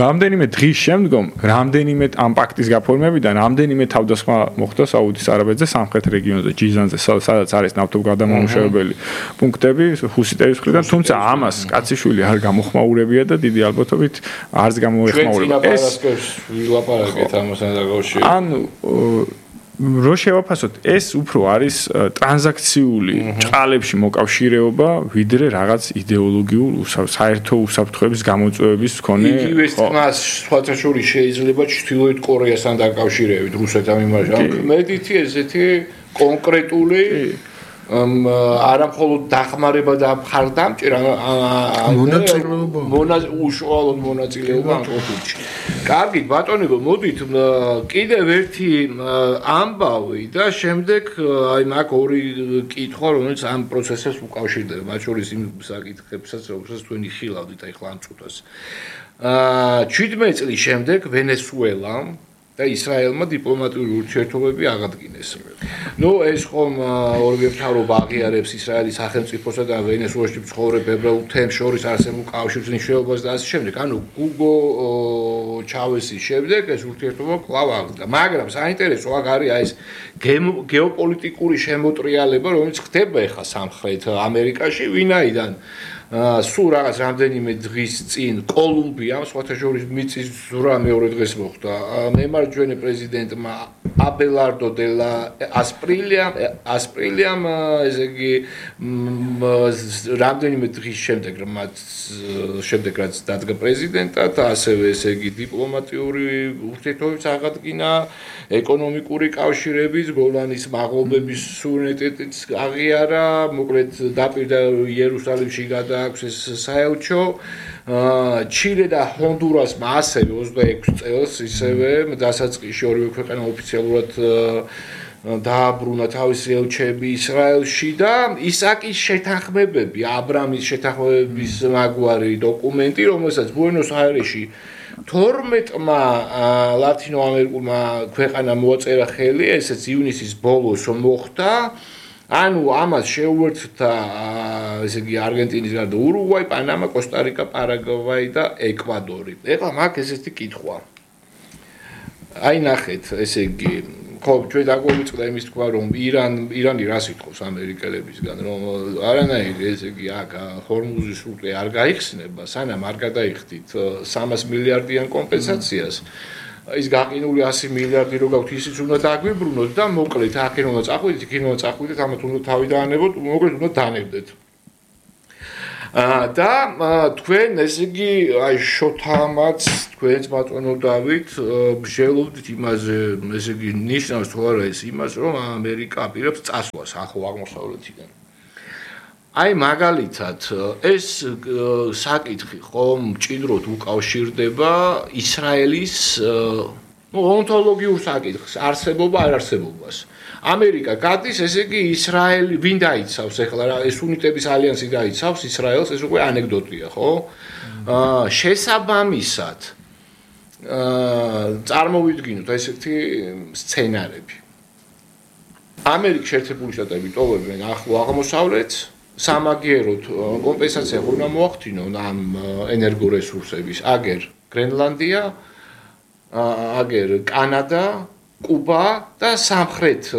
რამდენიმე დღის შემდგომ, რამდენიმე ამ პაქტის გაფორმებიდან, რამდენიმე თავდასხმა მოხდა საუდის არაბეთზე სამხრეთ რეგიონზე, ჯიზანზე, სადაც არის ნავთობგადამამუშავებელი პუნქტები ჰუსიტების მხრიდან, თუმცა ამას კაციშვილი არ გამოხმაურებია და დიდი ალბათობით არც გამოეხმაურება. ეს ვილაპარაკეთ ამასთან დაკავშირებით. ანუ რო შევაფასოთ, ეს უფრო არის ტრანზაქციული ჭყალებში მოკავშირეობა, ვიდრე რაღაც იდეოლოგიურ საერთო უსაფრთხოების გამოწვევების მქონე. იგივე თქმას სხვათა შორის შეიძლება ჩრდილოეთ კორეასთან დაკავშირებით რუსეთთან მიმარჯვებით. მედითი ესეთი კონკრეტული არა მხოლოდ დახმარება და მხარდამჭერა მონაწილეობა უშუალოდ მონაწილეობა ამ კონფლიქტში. კარგით, ბატონებო, მოდით კიდევ ერთი ამბავი და შემდეგ აი მაგ ორი კითხვა, რომელიც ამ პროცესებს უკავშირდება, მათ შორის იმ საკითხებსაც, რომელსაც თქვენ იხილავდით აი ხლა ამ წუთას. აა შვიდმეტი წლის შემდეგ ვენესუელა და ისრაელმა დიპლომატიური ურთიერთობები აღადგინეს. ნუ ეს ხომ ორივე მთავრობა აღიარებს ისრაელის სახელმწიფოსა და ვენესუელაში მცხოვრებ ებრაულ თემს შორის არსებულ კავშირის მნიშვნელობას და ასე შემდეგ. ანუ გუგო ჩავესის შემდეგ ეს ურთიერთობა კვლავ აღდგა. მაგრამ საინტერესო აქ არის აი ეს გეოპოლიტიკური შემოტრიალება, რომელიც ხდება ახლა სამხრეთ ამერიკაში, ვინაიდან სულ რაღაც რამდენიმე დღის წინ კოლუმბიამ სხვათა შორის მიწის ზურა მეორე დღეს მოხდა. მემარჯვენე პრეზიდენტმა აბელარდო დე ლა ასპრილია ასპრილიამ ესე იგი რამდენიმე დღის შემდეგ მათ შემდეგ რაც დადგა პრეზიდენტად, ასევე ესე იგი დიპლომატიური ურთიერთობების აღადგინა, ეკონომიკური კავშირების, გოლანის მაღლობების სუვერენიტეტის აღიარა, მოკლედ დაპირდა იერუსალიმში გადა აქვს ეს საელჩო. ჩილე და ჰონდურასმა ასევე ოცდაექვსი წელს ისევე დასაწყისში ორივე ქვეყანა ოფიციალურად დააბრუნა თავისი ელჩები ისრაელში და ისაკის შეთანხმებები, აბრამის შეთანხმებების მაგვარი დოკუმენტი, რომელსაც ბუენოს-აირესში თორმეტმა ლათინო-ამერიკულმა ქვეყანამ მოაწერა ხელი, ესეც ივნისის ბოლოს მოხდა. ანუ ამას შეუერთდა ესე იგი არგენტინის გარდა ურუგვაი, პანამა, კოსტა-რიკა, პარაგვაი და ეკვადორი. ეხლა მაგ ესეთი კითხვა. აი ნახეთ, ესე იგი ხო, ჩვენ დაგვიწყდა იმის თქვა, რომ ირან ირანი რას ითხოვს ამერიკელებისგან, რომ არანაირი ესე იგი აქ ჰორმუზის სრუტე არ გაიხსნება, სანამ არ გადაიხდით სამას მილიარდიან კომპენსაციას. ის გაყინული ასი მილიარდი რო გაქვთ, ისიც უნდა დაგვიბრუნოთ და მოკლედ აქ უნდა წახვიდეთ, იქ უნდა წახვიდეთ, ამათ უნდა თავი დაანებოთ, მოკლედ უნდა დანებდეთ. და თქვენ ესე იგი აი შოთამაც თქვენს ბატონოდავით მსჯელობდით იმაზე, ესე იგი ნიშნავს თუ არა ეს იმას, რომ ამერიკა აპირებს წასვლას ახლო აღმოსავლეთიდან. აი მაგალითად ეს საკითხი ხომ მჭიდროდ უკავშირდება ისრაელის ნუ ონტოლოგიურ საკითხს, არსებობა არ არსებობას. ამერიკა გადის, ესე იგი ისრაელი ვინ დაიცავს ახლა რა ეს უნიტების ალიანსი დაიცავს ისრაელს, ეს უკვე ანეკდოტია, ხო? აა შესაბამისად აა წარმოვიდგინოთ ესეთი სცენარები. ამერიკის შეერთებული შტატები ტოვებენ ახლო აღმოსავლეთს, სამაგიეროდ კომპენსაცია უნდა მოახდინონ ამ ენერგორესურსების, აგერ გრენლანდია, აგერ კანადა, კუბა და სამხრეთ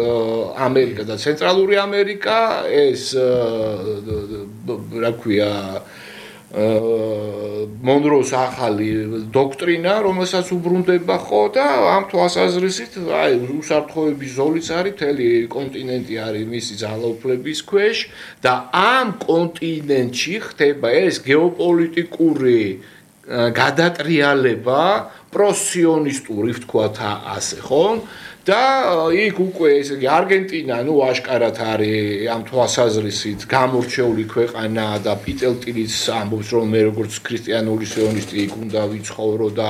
ამერიკა და ცენტრალური ამერიკა, ეს რა ქვია მონროს ახალი დოქტრინა, რომელსაც უბრუნდება ხო და ამ თვალსაზრისით, აი უსაფრთხოების ზოლიც არის, მთელი კონტინენტი არის მისი ძალაუფლების ქვეშ და ამ კონტინენტში ხდება ეს გეოპოლიტიკური გადატრიალება, პროსიონისტური ვთქვათ ასე, ხო? და იქ უკვე ესე იგი არგენტინა, ნუ აშკარად არის ამ თვალსაზრისით გამორჩეული ქვეყანა და პიტელტილის ამბობს, რომ მე როგორც ქრისტიანული სიონისტი იქ უნდა ვიცხოვრო და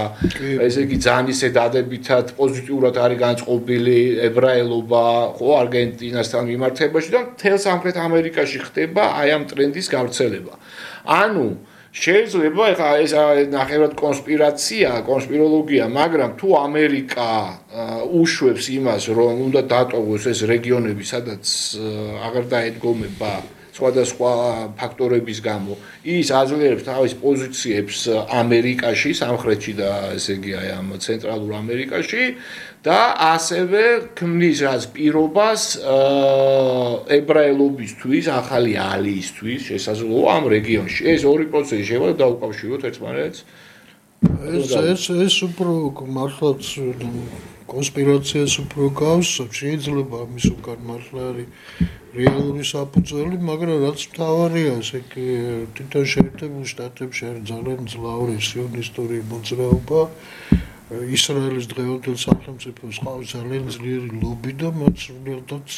ესე იგი ძალიან ისე დადებითად პოზიტიურად არის განწყობილი ებრაელობა, ხო, არგენტინასთან მიმართებაში და მთელ სამხრეთ ამერიკაში ხდება აი ამ ტრენდის გავრცელება. ანუ შეიძლება ეხა ეს ნახევრად კონსპირაცია, კონსპიროლოგია, მაგრამ თუ ამერიკა უშვებს იმას, რომ უნდა დატოვოს ეს რეგიონები, სადაც აღარ დაედგომება სხვადასხვა ფაქტორების გამო, ის აძლიერებს თავის პოზიციებს ამერიკაში, სამხრეთში და ესე იგი აი ამ ცენტრალურ ამერიკაში და ასევე ქმნის რაც პირობას ებრაელობისთვის, ახალი ალიისთვის შესაძლოა ამ რეგიონში. ეს ორი პროცესი შეიძლება დაუკავშიროთ ერთმანეთს. ეს ეს ეს უფრო მართლაც კონსპირაციას უფრო გავს, შეიძლება ამის უკან მართლა არის რეალური საფუძველი, მაგრამ რაც მთავარია, ესე იგი თვითონ შეერთებულ შტატებში არის ძალიან ძლავრი სიონისტური მოძრაობა. ისრაელის დღევანდელ სახელმწიფოს ყავს ძალიან ძლიერი ლობი და მათ სულელადაც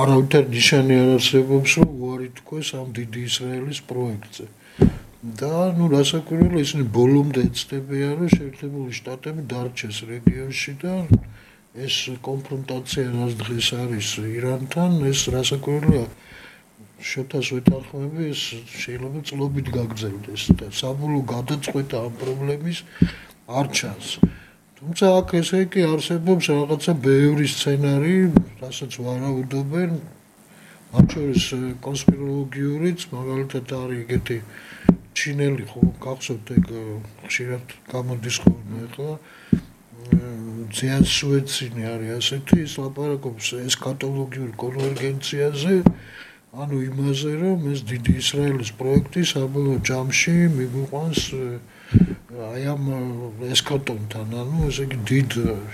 არავითარ ნიშანი არ არსებობს, რომ უარი თქვეს ამ დიდი ისრაელის პროექტზე. და ნუ რასაკვირველია, ისინი ბოლომდე ეცდებიან, რომ შეერთებული შტატები დარჩეს რეგიონში და ეს კონფრონტაცია რაც დღეს არის ირანთან, ეს რასაკვირველია შეთას ვეთანხმები, ეს შეიძლება წლობით გაგრძელდეს და საბოლოო გადაწყვეტა ამ პრობლემის არ ჩანს. თუმცა აქ ესე იგი არსებობს რაღაცა ბევრი სცენარი, რასაც ვარაუდობენ, მათ შორის კონსპიროლოგიურიც, მაგალითად არის ეგეთი ჩინელი ხო გახსოვთ ეგ ხშირად გამოდის ხოლმე ახლა ძიან სუეცინი არის ასეთი, ის ლაპარაკობს ესქატოლოგიურ კონვერგენციაზე, ანუ იმაზე, რომ ეს დიდი ისრაელის პროექტი საბოლოო ჯამში მიგვიყვანს აი ამ ესქატონთან, ანუ ესე იგი დიდ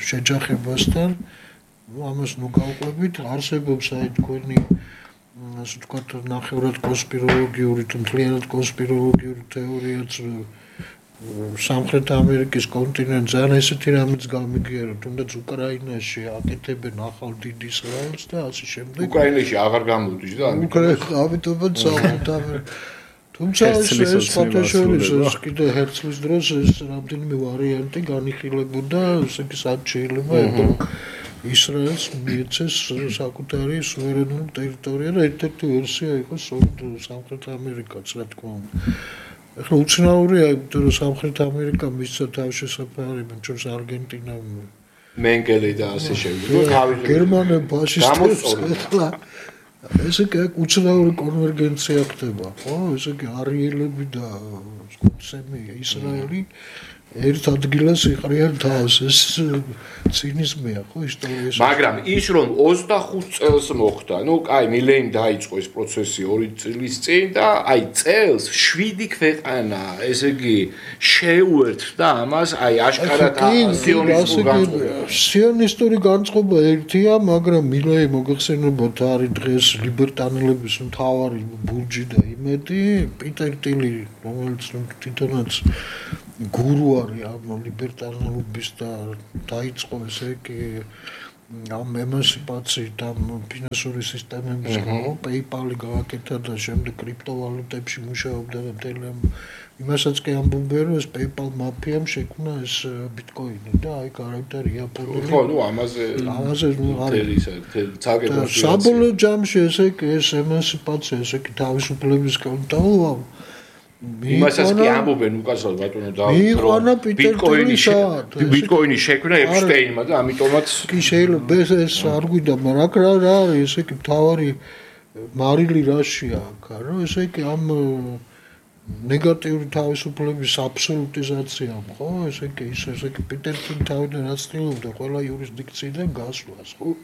შეჯახებასთან, ну ამას ნუ გავყვებით, არსებობს აი თქვენი ასე ვთქვათ ნახევრად კონსპიროლოგიური თუ მთლიანად კონსპიროლოგიური თეორიაც სამხრეთ ამერიკის კონტინენტს ან ესეთი რამეც გამიგიერო, თუნდაც უკრაინაში აკეთებენ ახალ დიდ ისრაელს და ასე შემდეგ. უკრაინაში აღარ გამოდის და ამიტომაც სამხრეთ ამერიკა. თუმცა ეს ფოტოშოპის კიდე ჰერცლის დროს ეს რამდენიმე ვარიანტი განიხილებოდა, ესე იგი სად შეიძლება ისრაელს მიეცეს საკუთარი სუვერენული ტერიტორია და ერთ-ერთი ვერსია იყო სამხრეთ ამერიკაც, რა თქმა უნდა. ახლა უცნაურია, იმიტომ რომ სამხრეთ ამერიკა მისცა თავშესაფარი, ჩვენს არგენტინა, მენგელი და ასე შემდეგ. გერმანია ფაშისტებს ახლა ესე იგი უცნაური კონვერგენცია ხდება, ხო? ესე იგი არიელები და სემი ისრაელი ერთ ადგილას იყრიან თავს, ეს ცინიზმია, ხო, ისტორიაში. მაგრამ ის რომ ოცდახუთ წელს მოხდა, ну, კაი, მილენი დაიწყო ეს პროცესი ორი წლის წინ და აი წელს შვიდი ქვეყანა, ესე იგი შეუერთდა ამას, აი აშკარად სიონისტური განწყობა. სიონისტური განწყობა ერთია, მაგრამ მილენი მოგეხსენებათ არის დღეს ლიბერტანელების მთავარი ბურჯი და იმედი, პიტერ ტილი, რომელიც თვითონაც გურუ არის ამ ლიბერტანელობის და დაიწყო ესე იგი ამ ემანსიპაციით ამ ფინანსური სისტემების ხო PayPal-ი გააკეთა და შემდეგ კრიპტოვალუტებში მუშაობდა და მთელი იმასაც კი ამბობენ რომ ეს PayPal მაფიამ შექმნა ეს ბიტკოინი და აი გარანტია იაპონური ხო ნუ ამაზე ამაზე არის ცალკე საბოლოო ჯამში ესე იგი ეს ემანსიპაცია ესე იგი თავისუფლების კონტაუა იმასაც კი ამბობენ უკაცრავ ბატონო და ბიტკოინი ბიტკოინი შექმნა ეპშტეინმა და ამიტომაც კი შეიძლება ეს არ გვიდა მაგრამ რა არის ესე იგი თავარი მარილი რაშია რა ესე იგი ამ ნეგატიური თავისუფლების აბსოლუტიზაცია ხო ესე იგი ის ესე იგი პიტერ თავიდან აცდილობდა ყველა იურისდიქციიდან გასვლას ხო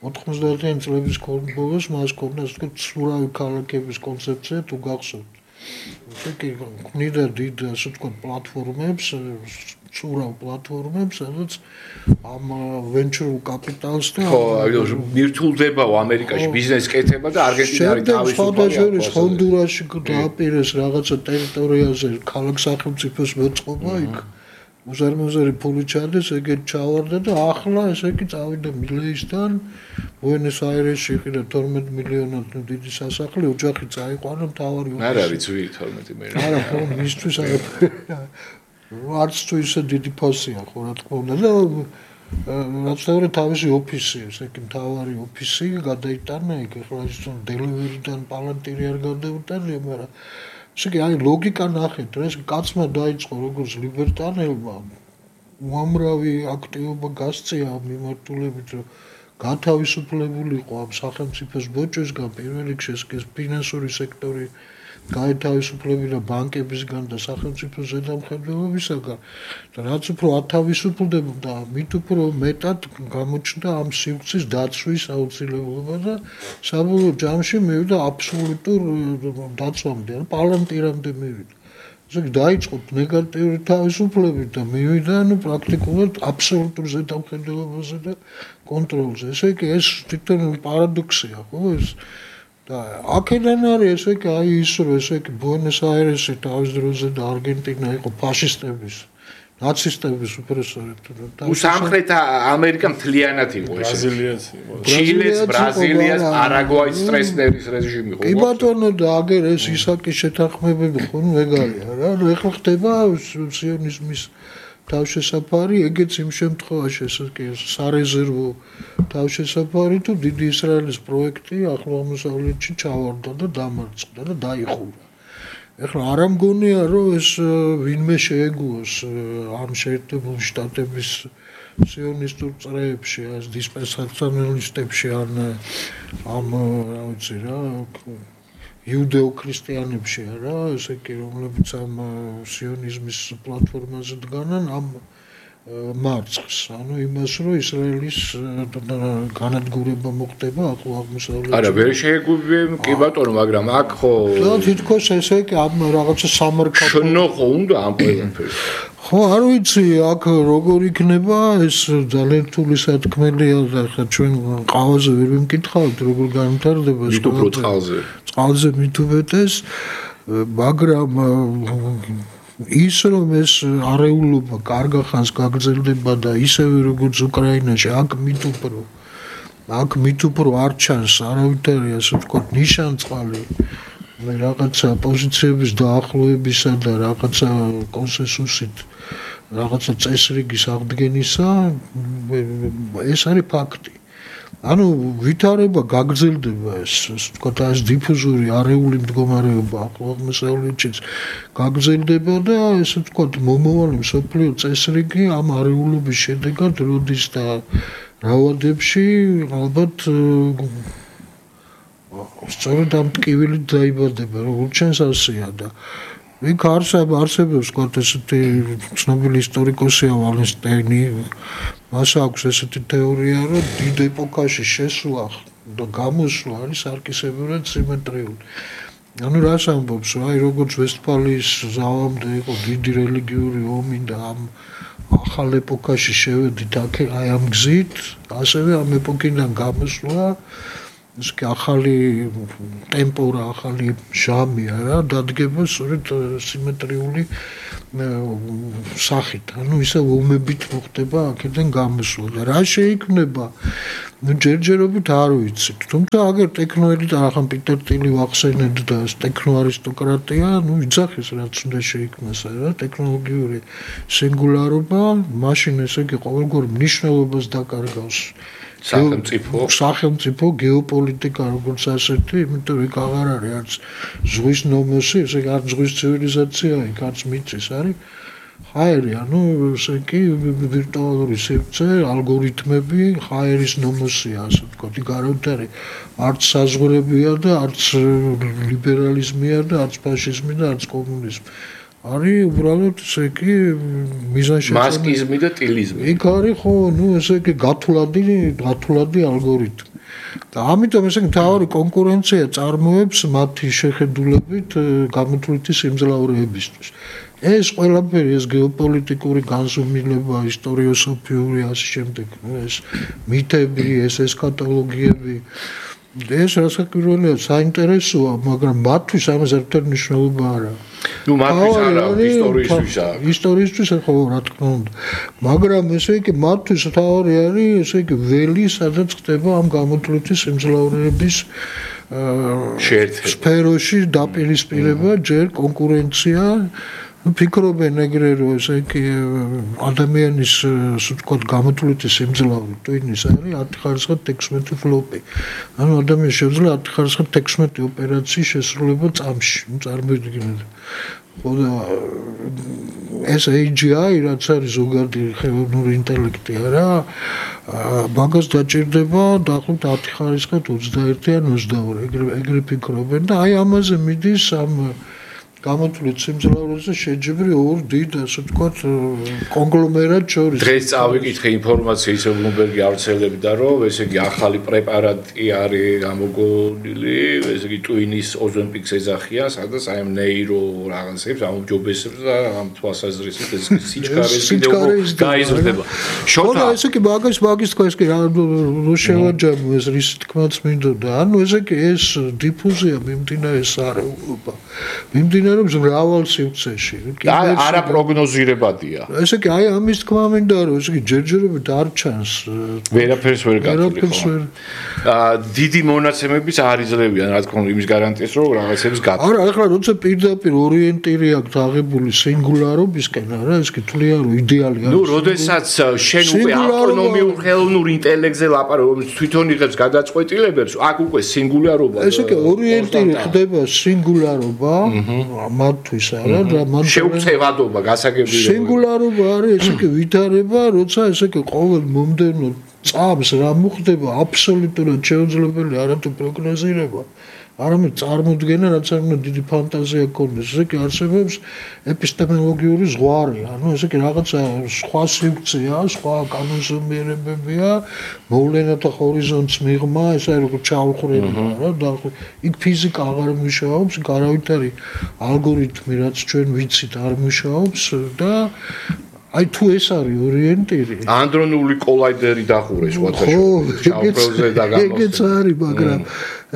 ოთხმოცდაათიანი წლების ბოლოს მას ქონდა ასე ვთქვათ სურავი ქალაქების კონცეფცია თუ გახსოვთ ისე ქმნიდა დიდ ასე ვთქვათ პლატფორმებს, სურავ პლატფორმებს, სადაც ამ venture capital-ს და ხო, მირთულდებაო ამერიკაში ბიზნესი კეთება და არგენტინა არის თავისუფალი. ჰონდურასში დააპირეს რაღაცა ტერიტორიაზე ქალაქ სახელმწიფოს მოწყობა იქ. უზარმაზარი ფული ჩადეს, ეგეთ ჩავარდა და ახლა ესე იგი წავიდა მილეისთან ბუენოს-აირესში იყიდა თორმეტ მილიონად დიდი სასახლე, ოჯახი წაიყვანა მთავარი ოფისი. არ არის ძვირი თორმეტი მილიონი. არა, ხო, მისთვის არც თუ ისე დიდი ფოსია, ხო, რა თქმა უნდა და რაც თავი თავისი ოფისი, ესე იგი მთავარი ოფისი გადაიტანა იქ, ახლა ის დელივერიდან პალანტირი არ გადაუტანია, მაგრამ ესე იგი აი ლოგიკა ნახეთ, ეს კაცმა დაიწყო როგორც ლიბერტანელმა უამრავი აქტივობა გასწია ამ მიმართულებით, რომ გათავისუფლებულიყო ამ სახელმწიფოს ბოჭისგან, პირველ რიგში ეს ფინანსური სექტორი გაეთავისუფლებინა ბანკებისგან და სახელმწიფოს ზედამხედველობისაგან და რაც უფრო ათავისუფლდებოდა, მით უფრო მეტად გამოჩნდა ამ სივრცის დაცვის აუცილებლობა და საბოლოო ჯამში მივიდა აბსოლუტურ დაცვამდე, პალანტირამდე მივიდა. ესე იგი დაიწყო ნეგატიური თავისუფლებით და მივიდა ანუ პრაქტიკულად აბსოლუტურ ზედამხედველობაზე და კონტროლზე. ესე იგი ეს თვითონ პარადოქსია, ხო ეს და აქედან არის ესე იგი აი ის რომ ესე იგი ბუენოს-აირესი თავის დროზე და არგენტინა იყო ფაშისტების ნაცისტების უპრესორები თუ სამხრეთ ამერიკა მთლიანად იყო ესე ბრაზილიაც იყო ჩილეს ბრაზილიას პარაგვაის სტრესნერის რეჟიმი იყო კი ბატონო და აგერ ეს ისაკის შეთანხმებები ხო მეგარია რა ნუ ეხლა ხდება სიონიზმის თავშესაფარი ეგეც იმ შემთხვევაში ესე კი სარეზერვო თავშესაფარი თუ დიდი ისრაელის პროექტი ახლო აღმოსავლეთში ჩავარდა და დამარცხდა და დაიხურა ეხლა არ ამგონია რომ ეს ვინმე შეეგუოს ამ შეერთებული შტატების სიონისტურ წრეებში ეს დისპენსაციონალისტებში ან ამ რა ვიცი რა იუდეო-ქრისტიანებში არა ესე კი რომლებიც ამ სიონიზმის პლატფორმაზე დგანან ამ მარცხს ანუ იმას რომ ისრაელის განადგურება მოხდება ახლო აღმოსავლეთში არა ვერ შეეგუებიან კი ბატონო მაგრამ აქ ხო და თითქოს ესე კი ამ რაღაცა სამარკატო შნო ხო უნდა ამ ყველაფერს ხო არ ვიცი აქ როგორ იქნება ეს ძალიან რთული სათქმელია და ხა ჩვენ ყავაზე ვერ ვიმკითხავთ როგორ განვითარდება ეს უფრო წყალზე წყალზე მით უმეტეს მაგრამ ის რომ ეს არეულობა კარგა ხანს გაგრძელდება და ისევე როგორც უკრაინაში აქ მით უფრო აქ მით უფრო არ ჩანს არავითარი ასე ვთქვათ ნიშანწყალი რაღაცა პოზიციების დაახლოებისა და რაღაცა კონსენსუსით რაღაცა წესრიგის აღდგენისა ეს არის ფაქტი. ანუ ვითარება გაგრძელდება ეს ვთქვათ ეს დიფუზური არეული მდგომარეობა აღმოსავლეთშიც გაგრძელდება და ესე ვთქვათ მომავალი მსოფლიო წესრიგი ამ არეულობის შედეგად როდის და რაოდებში ალბათ სწორედ ამ ტკივილით დაიბადება როგორც ჩვენს ასეა და იქ არსებობს ვთქვათ ესეთი ცნობილი ისტორიკოსია ვალენსტაინი მას აქვს ესეთი თეორია რომ დიდ ეპოქაში შესვლა და გამოსვლა არის არქისებურად სიმეტრიული ანუ რას ამბობს აი როგორც ვესტფალიის ზავამდე იყო დიდი რელიგიური ომი და ამ ახალ ეპოქაში შევედით აქ აი ამ გზით ასევე ამ ეპოქიდან გამოსვლა ეს კი ახალი ტემპორა ახალი ჟამია რა დადგება სწორედ სიმეტრიული სახით ანუ ისე ომებით მოხდება აქედან გამოსვლა და რა შეიქმნება ნუ ჯერჯერობით არ ვიცით თუმცა აგერ ტექნოელით ახან პიტერ ტილი ვახსენეთ და ტექნო არისტოკრატია ნუ იძახის რაც უნდა შეიქმნას რა ტექნოლოგიური სინგულარობა მაშინ ესე იგი ყოველგვარ მნიშვნელობას დაკარგავს სახელმწიფო სახელმწიფო გეოპოლიტიკა როგორც ასეთი იმიტომ რომ იქ აღარ არის არც ზღვის ნომოსი ესე იგი არც ზღვის ცივილიზაცია იქ არც მიწის არის ხაერი ანუ ესე იგი ვირტუალური სივრცე ალგორითმები ხაერის ნომოსია ასე ვთქვათ იქ არავითარი არც საზღვრებია და არც ლიბერალიზმია და არც ფაშიზმი და არც კომუნიზმი არის უბრალოდ ესე იგი მიზანშეწონილი მასკიზმი და ტილიზმი. იქ არის ხო, ნუ ესე იგი გათვლადი, გათვლადი ალგორითმი. და ამიტომ ესე იგი თავი კონკურენცია წარმოებს მათი შეხედულებით გამოთვლითი სიმძლავრეებისთვის. ეს ყველაფერი ეს გეოპოლიტიკური განზომილება, ისტორიოსოფიური ასე შემდეგ, ეს მითები, ეს ესქატოლოგიები ეს რასაკვირველია საინტერესოა, მაგრამ მათთვის ამას ერთად მნიშვნელობა არ აქვს. ნუ მათთვის არა, ისტორიისთვის აქვს. ისტორიისთვის ხო რა თქმა უნდა. მაგრამ ესე იგი მათთვის თავი არის, ესე იგი ველი, სადაც ხდება ამ გამოთვლითი სიმძლავრეების შეერთება. სფეროში დაპირისპირება, ჯერ კონკურენცია ფიქრობენ ეგრე რომ ესე იგი ადამიანის ასე ვთქვათ გამოთვლითი სიმძლავრე ტვინის არის ათი ხარისხად ექვსმეტი ფლოპი. ანუ ადამიანს შეუძლია ათი ხარისხად ექვსმეტი ოპერაციის შესრულება წამში. ნუ წარმოიდგინეთ. ხო და ეს έი ჯი აი რაც არის ზოგადი ხელოვნური ინტელექტი არა მაგას დაჭირდება დაახლოებით ათი ხარისხად ოცდაერთი ან ოცდაორი ეგრე ეგრე ფიქრობენ და აი ამაზე მიდის ამ გამოთვლით სიმძლავრეზე შეჯიბრი ორ დიდ ასე ვთქვათ კონგლომერატ შორის. დღეს წავიკითხე ინფორმაცია ისე ბლუმბერგი ავრცელებდა რომ ესე იგი ახალი პრეპარატი არის გამოგონილი, ესე იგი ტვინის ოზონპიქს ეძახიან, სადაც აი ამ ნეირო რაღაცებს, ამ ჯობესებს და ამ თვალსაზრისით ეს სიჩქარე გაიზრდება. შოთა ესე იგი მაგას მაგის თქვა ეს კი რა შევაჯამო ეს რის თქმაც მინდოდა. ანუ ესე იგი ეს დიფუზია მიმდინარეობს არეულობა. მიმდინარეობს რომ მრავალ სივრცეში. არა პროგნოზირებადია. ესე იგი აი ამის თქმა მინდა რომ ესე იგი ჯერჯერობით არ ჩანს. ვერაფერს ვერ გაწყვეტ. აა დიდი მონაცემების არ იძლევიან რა თქმა უნდა იმის გარანტიას რომ რაღაცებს გაწყვეტ. არა, ახლა როცა პირდაპირ ორიენტირი აქვს აღებული სინგულარობისკენ, არა, ეს კი თვლია რომ იდეალია. ნუ, როდესაც შენ უკვე ავტონომიურ ხელოვნურ ინტელექტზე ლაპარაკობ, თვითონ იღებს გადაწყვეტილებებს, აქ უკვე სინგულარობა. ესე იგი ორიენტირი ხდება სინგულარობა. მათთვის არა და მან შეუცევადობა გასაგებია სინგულარობა არის ესე იგი ვითარება როცა ესე იგი ყოველ მომდევნო წამს რა მოხდება აბსოლუტურად შეუძლებელი არათუ პროგნოზირება არამედ წარმოდგენა რაც არ უნდა დიდი ფანტაზია გქონდეს ესე იგი არსებობს ეპისტემოლოგიური ზღვარი ანუ ესე იგი რაღაცა სხვა სივრცეა სხვა კანონზომიერებებია მოვლენათა ჰორიზონტს მიღმა ესე როგორ ჩაუხრება რა და იქ ფიზიკა აღარ მუშაობს არავითარი ალგორითმი რაც ჩვენ ვიცით არ მუშაობს და აი თუ ეს არის ორიენტირი ანდრონული კოლაიდერი დახურეს ვატაშოზე ჩაუბრალზე და გამოსდა ეგეც არის მაგრამ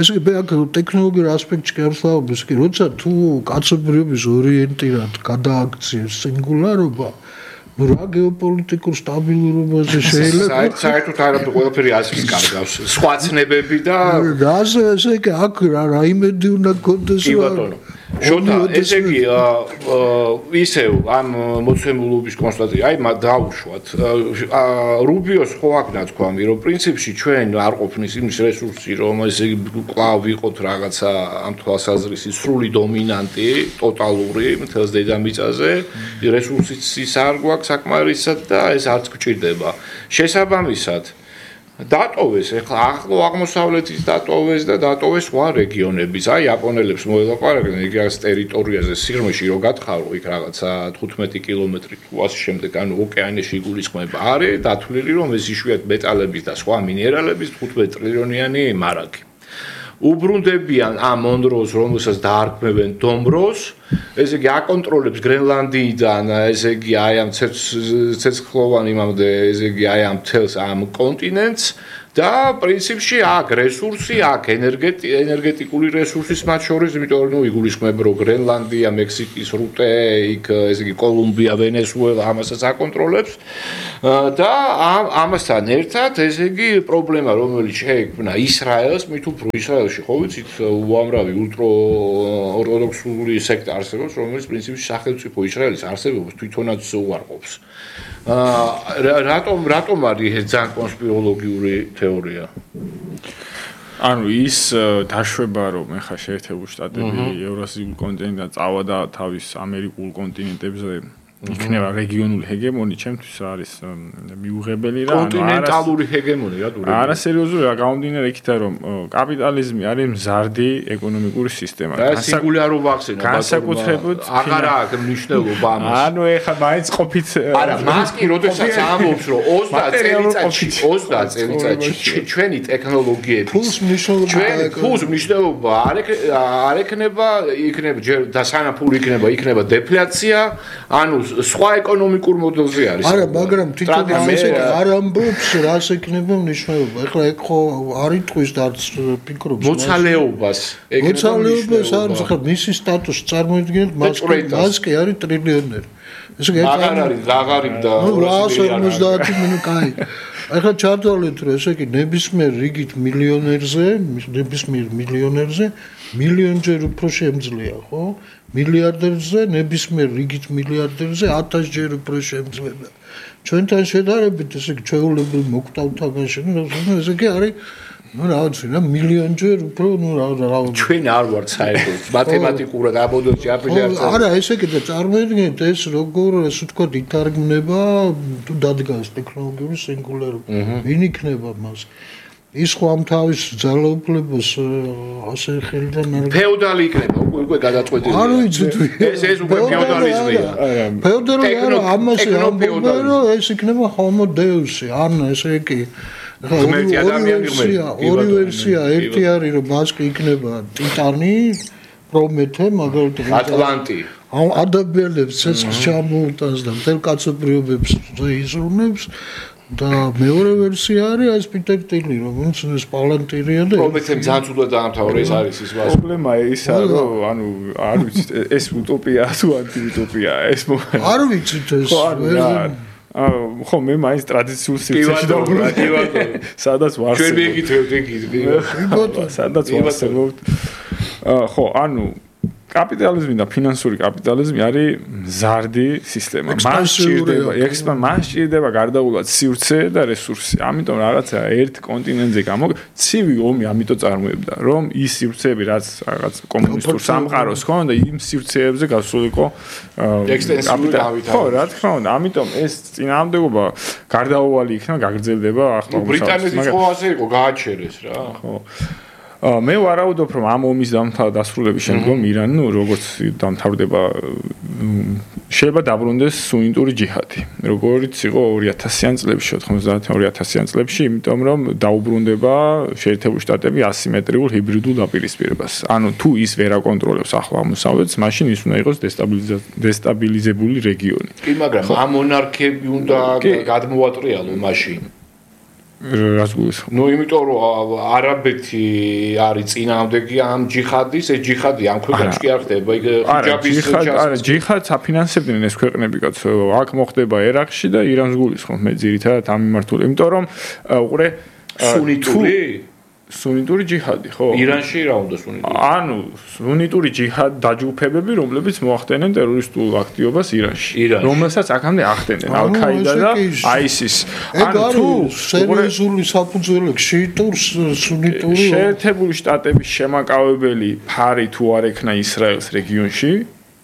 ესე იგი აქ ტექნოლოგიურ ასპექტში გასვლავებს კი როცა თუ კაცობრიობის ორიენტირად გადააქციეს სინგულარობა ну რა გეოპოლიტიკურ სტაბილურობაზე შეიძლება საერთოდ არაფერი ყველაფერი ასის კარგავს სხვა ცნებები და რაზე ესე იგი აქ რა იმედი უნდა გქონდეს რა შოთა ესე იგი ისევ ამ მოცემულობის კონსტატაცია აი დაუშვათ რუბიოს ხო აქ ნათქვამი რომ პრინციპში ჩვენ არ ყოფნის იმის რესურსი რომ ესე იგი კვლავ ვიყოთ რაღაცა ამ თვალსაზრისით სრული დომინანტი ტოტალური მთელს დედამიწაზე რესურსიც ის არ გვაქვს საკმარისად და ეს არც გჭირდება შესაბამისად დატოვეს ეხლა ახლო აღმოსავლეთის დატოვეს და დატოვეს სხვა რეგიონების აი იაპონელებს მოელაპარაკენ იქ არის ტერიტორიაზე სიღრმეში რო გათხარო იქ რაღაცა თხუთმეტი კილომეტრი თუ ასე შემდეგ ანუ ოკეანეში იგულისხმება არის დათვლილი რომ ეს იშვიათ მეტალების და სხვა მინერალების თხუთმეტი ტრილიონიანი მარაგი უბრუნდებიან ამ მონროს რომელსაც დაარქმევენ დომროს ესე იგი აკონტროლებს გრენლანდიიდან ესე იგი აი ამ ცეცხლოვან იმამდე ესე იგი აი ამ თელს ამ კონტინენტს და პრინციპში აქ რესურსი აქ ენერგეტიკული რესურსის მათ შორის იმიტომ რომ იგულისხმება რომ გრენლანდია მექსიკის რუტე იქ ესე იგი კოლუმბია ვენესუელა ამასაც აკონტროლებს და ამასთან ერთად ესე იგი პრობლემა რომელიც შეექმნა ისრაელს მით უფრო ისრაელში ხო ვიცით უამრავი ულტრო ორთოდოქსული სექტა არსებობს რომელიც პრინციპში სახელმწიფო ისრაელის არსებობას თვითონაც უარყოფს რატომ რატომ არის ეს ძალიან კონსპიროლოგიური თეორია ანუ ის დაშვება რომ ეხა შეერთებული შტატები ევრაზიულ კონტინენტიდან წავა და თავის ამერიკულ კონტინენტებზე იქნება რეგიონული ჰეგემონი ჩემთვის არის მიუღებელი რა კონტინენტალური ჰეგემონი რა დურები არა სერიოზული რა გამომდინარე იქიდან რომ კაპიტალიზმი არის მზარდი ეკონომიკური სისტემა და სინგულარობა ახსენა განსაკუთრებით აღარა აქვს მნიშვნელობა ამას ანუ ეხა მაინც ყოფით არა მას კი როდესაც ამბობს რომ ოცდაათ წელიწადში ოცდაათ წელიწადში ჩვენი ტექნოლოგიები ფულს მნიშვნელობა ფულს მნიშვნელობა არ ექნება იქნება და სანამ ფული იქნება იქნება დეფლაცია ანუ სხვა ეკონომიკურ მოდელზე არის. არა, მაგრამ თვითონ ესე არ ამბობს, რას ექნება მნიშვნელობა. ეხლა ეგ ხო არ იტყვის და არც ფიქრობს. მოცალეობას. მოცალეობას არის, ხა მისი სტატუსი წარმოიდგინეთ, მას მას კი არის ტრილიონერი. ესე იგი აღარ არის, აღარიმ და ორასი ორმოცდაათი მინუტი, კაი. ეხლა ჩართვალეთ, რომ ესე იგი ნებისმიერ რიგით მილიონერზე, ნებისმიერ მილიონერზე მილიონჯერ უფრო შემძლეა, ხო? მილიარდერზე, ნებისმიერ რიგით მილიარდერზე ათასჯერ უფრო შემძლება. ჩვენთან შედარებით, ესე იგი ჩვეულებრივ მოკვდავთ თამაში, ну, ესე იგი არის ну, რა ვიცი, რა მილიონჯერ უფრო, ну, რა რა ჩვენ არ ვართ საერთოდ მათემატიკურად აბოდოში აფილიაციაზე. არა, ესე იგი და წარმოიდგინეთ ეს როგორ, ასე ვთქვათ, ითარგმნება თუ დადგას ტექნოლოგიური სინგულარობა. ვინ იქნება მას? ის ხო ამ თავის ძალაუფლებას ასე ხელიდან არ ფეოდალი იქნება უკვე უკვე გადაწყვეტილი. არ ვიცი თუ ეს ეს უკვე ფეოდალიზმია. ფეოდალი არა, ამაზე ამბობენ რომ ეს იქნება homo deus-ი, ან ესე იგი ღმერთი ადამიანი ღმერთი. ორი ვერსია, ერთი არის რომ მას კი იქნება ტიტანი, პრომეთე, მაგალითად ატლანტი. ამ ადამიანებს ცეცხლს ჩამოუტანს და მთელ კაცობრიობებს იზრუნებს. და მეორე ვერსია არის ეს პიტერ ტილი, რომელიც ეს პალანტირია და პრომეთემ ძალიან ცუდად დაამთავრა ეს არის ის ვაზი. პრობლემა ისა რომ ანუ არ ვიცით ესუტოპია თუ ანტიუტოპია ეს არ ვიცით ეს აა ხო მე მაინც ტრადიციულ სივრცეში დავბრუნდი სადაც ვარსებობ ჩვენ მეკითხებთ ეკითხი სადაც ვარსებობ ხო ანუ კაპიტალიზმი და ფინანსური კაპიტალიზმი არის მზარდი სისტემა. მას სჭირდება, ექსპან მას სჭირდება გარდაუვალ სივრცე და რესურსი. ამიტომ რაღაცა ერთ კონტინენტზე გამო ცივი ომი ამიტომ წარმოებდა, რომ ის სივრცეები რაც რაღაც კომუნისტურ სამყაროს ჰქონდა, იმ სივრცეებზე გასულიყო კაპიტალი. ხო, რა თქმა უნდა, ამიტომ ეს წინააღმდეგობა გარდაუვალი იქნება, გაგრძელდება ახლა. ბრიტანეთის ხო ასე იყო, გააჩერეს რა. ხო. მე ვარაუდობ, რომ ამ ომის დასრულების შემდგომ ირანი, ნუ როგორც დამთავრდება, შეიძლება დაბრუნდეს სუნიტური ჯიჰადი. როგორც იყო ორი ათასიან წლებში, ოთხმოცდაათიან ორი ათასიან წლებში, იმიტომ რომ დაუბრუნდება შეერთებული შტატები ასიმეტრიულ ჰიბრიდულ დაპირისპირებას. ანუ თუ ის ვერ აკონტროლებს ახლო აღმოსავლეთს, მაშინ ის უნდა იყოს დესტაბილიზებული რეგიონი. კი, მაგრამ ამ მონარქიები უნდა გადმოატრიალო მაშინ. რას გულისხმობ? ნუ იმიტომ რომ არაბეთი არის წინააღმდეგი ამ ჯიჰადის, ეს ჯიჰადი ამ ქვეყნებში კი არ ხდება, იქ ჰიჯაბის არა, ჯიჰადს აფინანსებდნენ ეს ქვეყნები, კაცო. აქ მოხდება ერაყში და ირანს გულისხმობ მე ძირითადად ამ მიმართულებით. იმიტომ რომ უყურე სუნიტური სუნიტური ჯიჰადი, ხო? ირანში რა უნდა სუნიტური? ანუ სუნიტური ჯიჰად დაჯგუფებები, რომლებიც მოახდენენ ტერორისტულ აქტივობას ირანში, რომელსაც აქამდე ახდენენ ალ-ქაიდა და აისის. ანუ თუ სერიოზული საფუძველი შეიტურს სუნიტური შეერთებული შტატების შემაკავებელი ფარი თუ არ ექნა ისრაელს რეგიონში,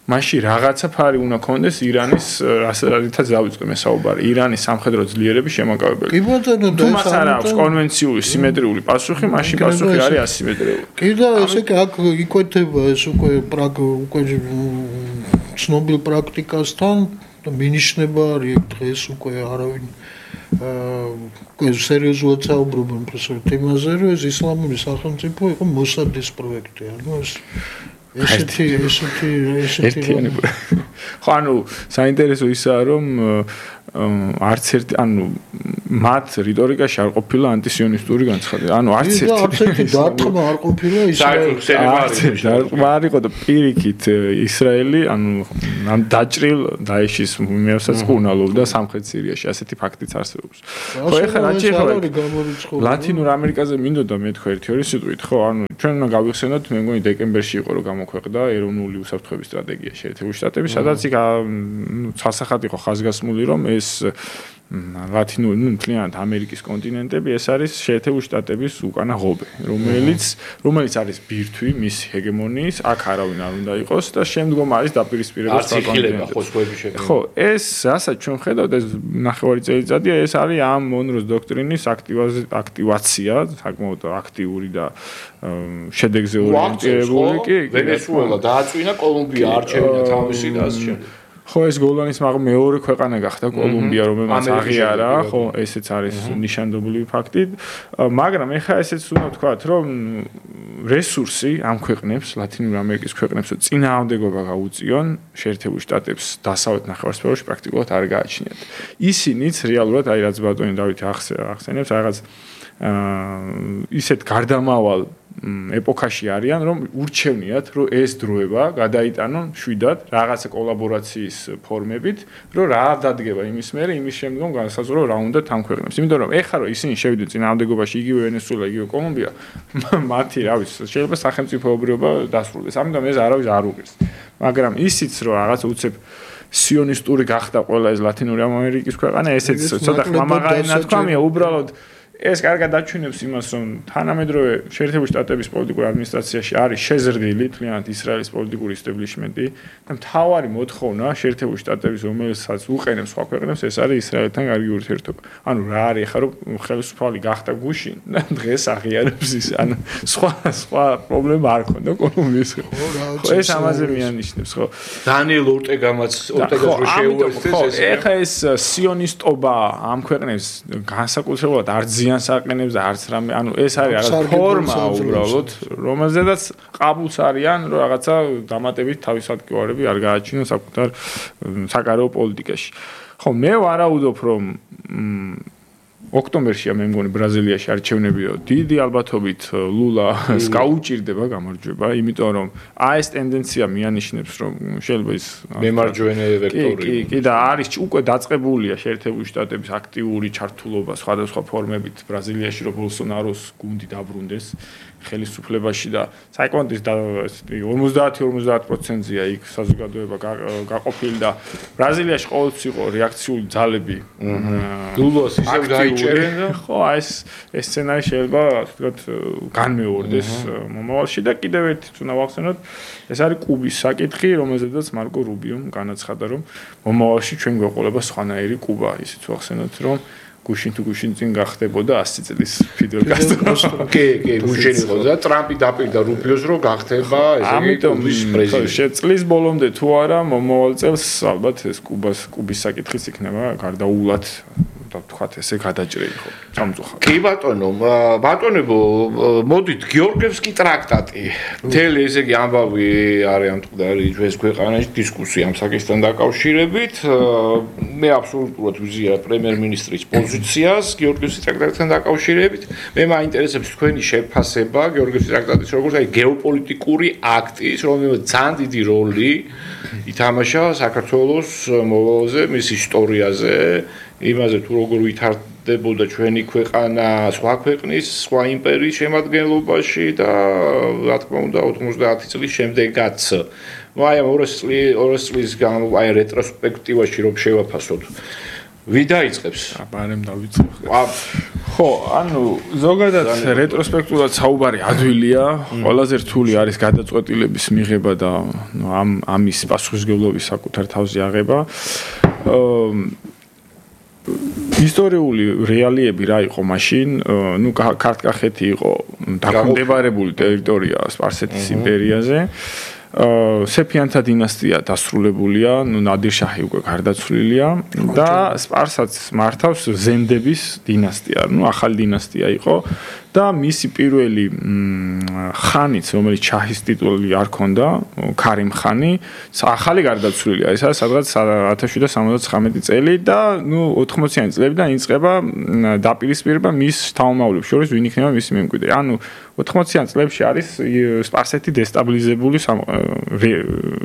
მაშინ რაღაცა ფარი უნდა კონდეს ირანის, რასაც დავიწყე მე საუბარი, ირანის სამხედრო ძლიერების შემაკავებელი. კი ბატონო, თუ მას არ აქვს კონვენციული სიმეტრიული პასუხი, მაშინ პასუხი არის ასიმეტრიული. კი და ესე კი აქ იკვეთება ეს უკვე პრაგ უკვე ცნობილ პრაქტიკასთან და მინიშნება არის დღეს უკვე არავინ აა სერიოზულად საუბრობენ პროფესორ თემაზე, რომ ეს ისლამური სახელმწიფო იყო მოსადის პროექტი, ანუ ეს ესეთი ესეთი ესეთი ხო ანუ საინტერესო ისაა რომ არც ერთი ანუ მათ რიტორიკაში არ ყოფილა ანტისიონისტური განცხადება. ანუ არც ერთი არც ერთი დარტყმა არ ყოფილა ისრაელის დარტყმა არ იყო და პირიქით ისრაელი ანუ ამ დაჭრილ დაეშის მეოსაც კუნალობდა სამხრეთ სირიაში. ასეთი ფაქტიც არსებობს. ხო ეხლა რა შეიძლება ლათინურ ამერიკაზე მინდოდა მეთქვა ერთი ორი სიტყვით, ხო? ანუ ჩვენ უნდა გავიხსენოთ, მე მგონი დეკემბერში იყო რომ გამოქვეყნდა ეროვნული უსაფრთხოების სტრატეგია შეერთებული შტატების, სადაც იქ ცალსახად იყო ხაზგასმული რომ ეს ლათინური, ნუ მთლიანად ამერიკის კონტინენტები, ეს არის შეერთებული შტატების უკანა ღობე, რომელიც რომელიც არის ბირთვი მის ჰეგემონიის, აქ არავინ არ უნდა იყოს და შემდგომ არის დაპირისპირება სხვა კონტინენტებში. ხო, ეს რასაც ჩვენ ხედავთ, ეს ნახევარი წელიწადია, ეს არის ამ მონროს დოქტრინის აქტივაცია, საკმაოდ აქტიური და შედეგზე ორიენტირებული კი. ვენესუელა დააწვინა, კოლუმბია არჩევინა თავისი და ასე შემდეგ. ხო ეს გოლანის მაგრამ მეორე ქვეყანა გახდა კოლუმბია, რომელმაც აღიარა, ხო ესეც არის ნიშანდობლივი ფაქტი, მაგრამ ეხლა ესეც უნდა ვთქვათ, რომ რესურსი ამ ქვეყნებს, ლათინური ამერიკის ქვეყნებს წინააღმდეგობა გაუწიონ შეერთებულ შტატებს დასავლეთ ნახევარსფეროში პრაქტიკულად არ გააჩნიათ. ისინიც რეალურად აი რაც ბატონი დავითი ახსენებს, რაღაც ისეთ გარდამავალ ეპოქაში არიან, რომ ურჩევნიათ, რომ ეს დროება გადაიტანონ მშვიდად რაღაცა კოლაბორაციის ფორმებით, რომ რა დადგება იმის მერე, იმის შემდგომ განსაზღვრო რა უნდა თან ქვეყნებს. იმიტომ რომ ეხლა რომ ისინი შევიდნენ წინააღმდეგობაში, იგივე ვენესუელა, იგივე კოლუმბია, მათი რა ვიცი, შეიძლება სახელმწიფოებრიობა დასრულდეს. ამიტომ ეს არავის არ უღირს. მაგრამ ისიც რომ რაღაც უცებ სიონისტური გახდა ყველა ეს ლათინური ამერიკის ქვეყანა, ესეც ცოტა ხმამაღალი ნათქვამია, უბრალოდ ეს კარგად დაჩვენებს იმას, რომ თანამედროვე შეერთებული შტატების პოლიტიკურ ადმინისტრაციაში არის შეზრდილი თლიანად ისრაელის პოლიტიკური ისტაბლიშმენტი და მთავარი მოთხოვნა შეერთებული შტატების, რომელსაც უყენებს სხვა ქვეყნებს, ეს არის ისრაელთან კარგი ურთიერთობა. ანუ რა არის ახლა რომ ხელისუფალი გახდა გუშინ და დღეს აღიარებს ის, ანუ სხვა სხვა პრობლემა არ ქონდა კოლუმბიის. ხო, ეს ამაზე მიანიშნებს, ხო. დანიელ ორტეგამაც ორტეგას რო შეუერთდეს ეს. ეხლა ეს სიონისტობა ამ ქვეყნებს განსაკუთრებულად არ ზიანს აყენებს და არც რამე, ანუ ეს არის რაღაც ფორმა უბრალოდ, რომელზედაც ყაბულს არიან, რომ რაღაცა დამატებით თავისადგურები არ გააჩინონ საკუთარ საკარეო პოლიტიკაში. ხო, მე ვარაუდობ, რომ ოქტომბერშია მე მგონი ბრაზილიაში არჩევნებია, დიდი ალბათობით ლულას გაუჭირდება გამარჯვება, იმიტომ რომ აი ეს ტენდენცია მიანიშნებს, რომ შეიძლება ის მემარჯვენე ვექტორი. კი, კი და არის უკვე დაწყებულია შეერთებული შტატების აქტიური ჩართულობა სხვადასხვა ფორმებით ბრაზილიაში, რომ ბოლსონაროს გუნდი დაბრუნდეს ხელისუფლებაში და საერთოდ ორმოცდაათი ორმოცდაათ პროცენტია იქ საზოგადოება გაყოფილი და ბრაზილიაში ყოველთვის იყო რეაქციული ძალები. ლულას ისევ გაიჭერენ და ხო, ეს ეს სცენარი შეიძლება ასე ვთქვათ განმეორდეს მომავალში და კიდევ ერთი უნდა ვახსენოთ, ეს არის კუბის საკითხი, რომელზედაც მარკო რუბიომ განაცხადა, რომ მომავალში ჩვენ გვეყოლება სხვანაირი კუბა, ისიც ვახსენოთ, რომ გუშინ თუ გუშინ წინ გახდებოდა ასი წლის ფიდელ კასტრო. კი, კი, გუშინ იყო და ტრამპი დაპირდა რუბიოს რომ გახდება ესე იგი კუბის პრეზიდენტი. შეწლის ბოლომდე თუ არა მომავალ წელს ალბათ ეს კუბას კუბის საკითხიც იქნება გარდაულად და თქვათ ესე გადაჭრილი ხო სამწუხაროდ. კი ბატონო, ბატონებო, მოდით გიორგევსკი ტრაქტატი. მთელი ესე იგი ამბავი არის ამ მკვდარი ჩვენს ქვეყანაში დისკუსია ამ საკითხთან დაკავშირებით. მე აბსოლუტურად ვიზია პრემიერ-მინისტრის პოზიციას გიორგევსკის ტრაქტატთან დაკავშირებით. მე მაინტერესებს თქვენი შეფასება გიორგევსკის ტრაქტატის როგორც აი გეოპოლიტიკური აქტის, რომელმაც ძალიან დიდი როლი ითამაშა საქართველოს მოვლენაზე, მის ისტორიაზე. იმაზე თუ როგორ ვითარდებოდა ჩვენი ქვეყანა სხვა ქვეყნის, სხვა იმპერიის შემადგენლობაში და რა თქმა უნდა ოთხმოცდაათი წლის შემდეგაც. აი ამ ორასი წლის გამ აი რეტროსპექტივაში რომ შევაფასოთ. ვინ დაიწყებს? აბარემ დავიწყებ. ხო, ანუ ზოგადად რეტროსპექტულად საუბარი ადვილია, ყველაზე რთული არის გადაწყვეტილების მიღება და ამ ამის პასუხისმგებლობის საკუთარ თავზე აღება. ისტორიული რეალიები რა იყო მაშინ? ნუ ქართლ-კახეთი იყო დაქვემდებარებული ტერიტორია სპარსეთის იმპერიაზე. სეფიანთა დინასტია დასრულებულია, ნუ ნადირ-შაჰი უკვე გარდაცვლილია და სპარსეთს მართავს ზენდების დინასტია, ნუ ახალი დინასტია იყო და მისი პირველი ხანიც, რომელიც ჩაჰის ტიტული არ ჰქონდა, ქარიმ ხანი, ახალი გარდაცვლილია, ეს არის სადღაც ათას შვიდსათ სამოცდათხრამეტი წელი და ნუ ოთხმოციანი წლებიდან იწყება დაპირისპირება მის შთამომავლებს შორის, ვინ იქნება მისი მემკვიდრე. ანუ ოთხმოციან წლებში არის სპარსეთი დესტაბილიზებული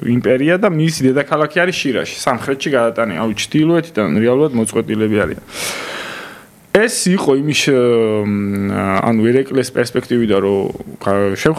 იმპერია და მისი დედაქალაქი არის შირაში, სამხრეთში გადატანილი, ანუ ჩრდილოეთიდან რეალურად მოწყვეტილები არიან. ეს იყო იმის ანუ ერეკლეს პერსპექტივიდან რომ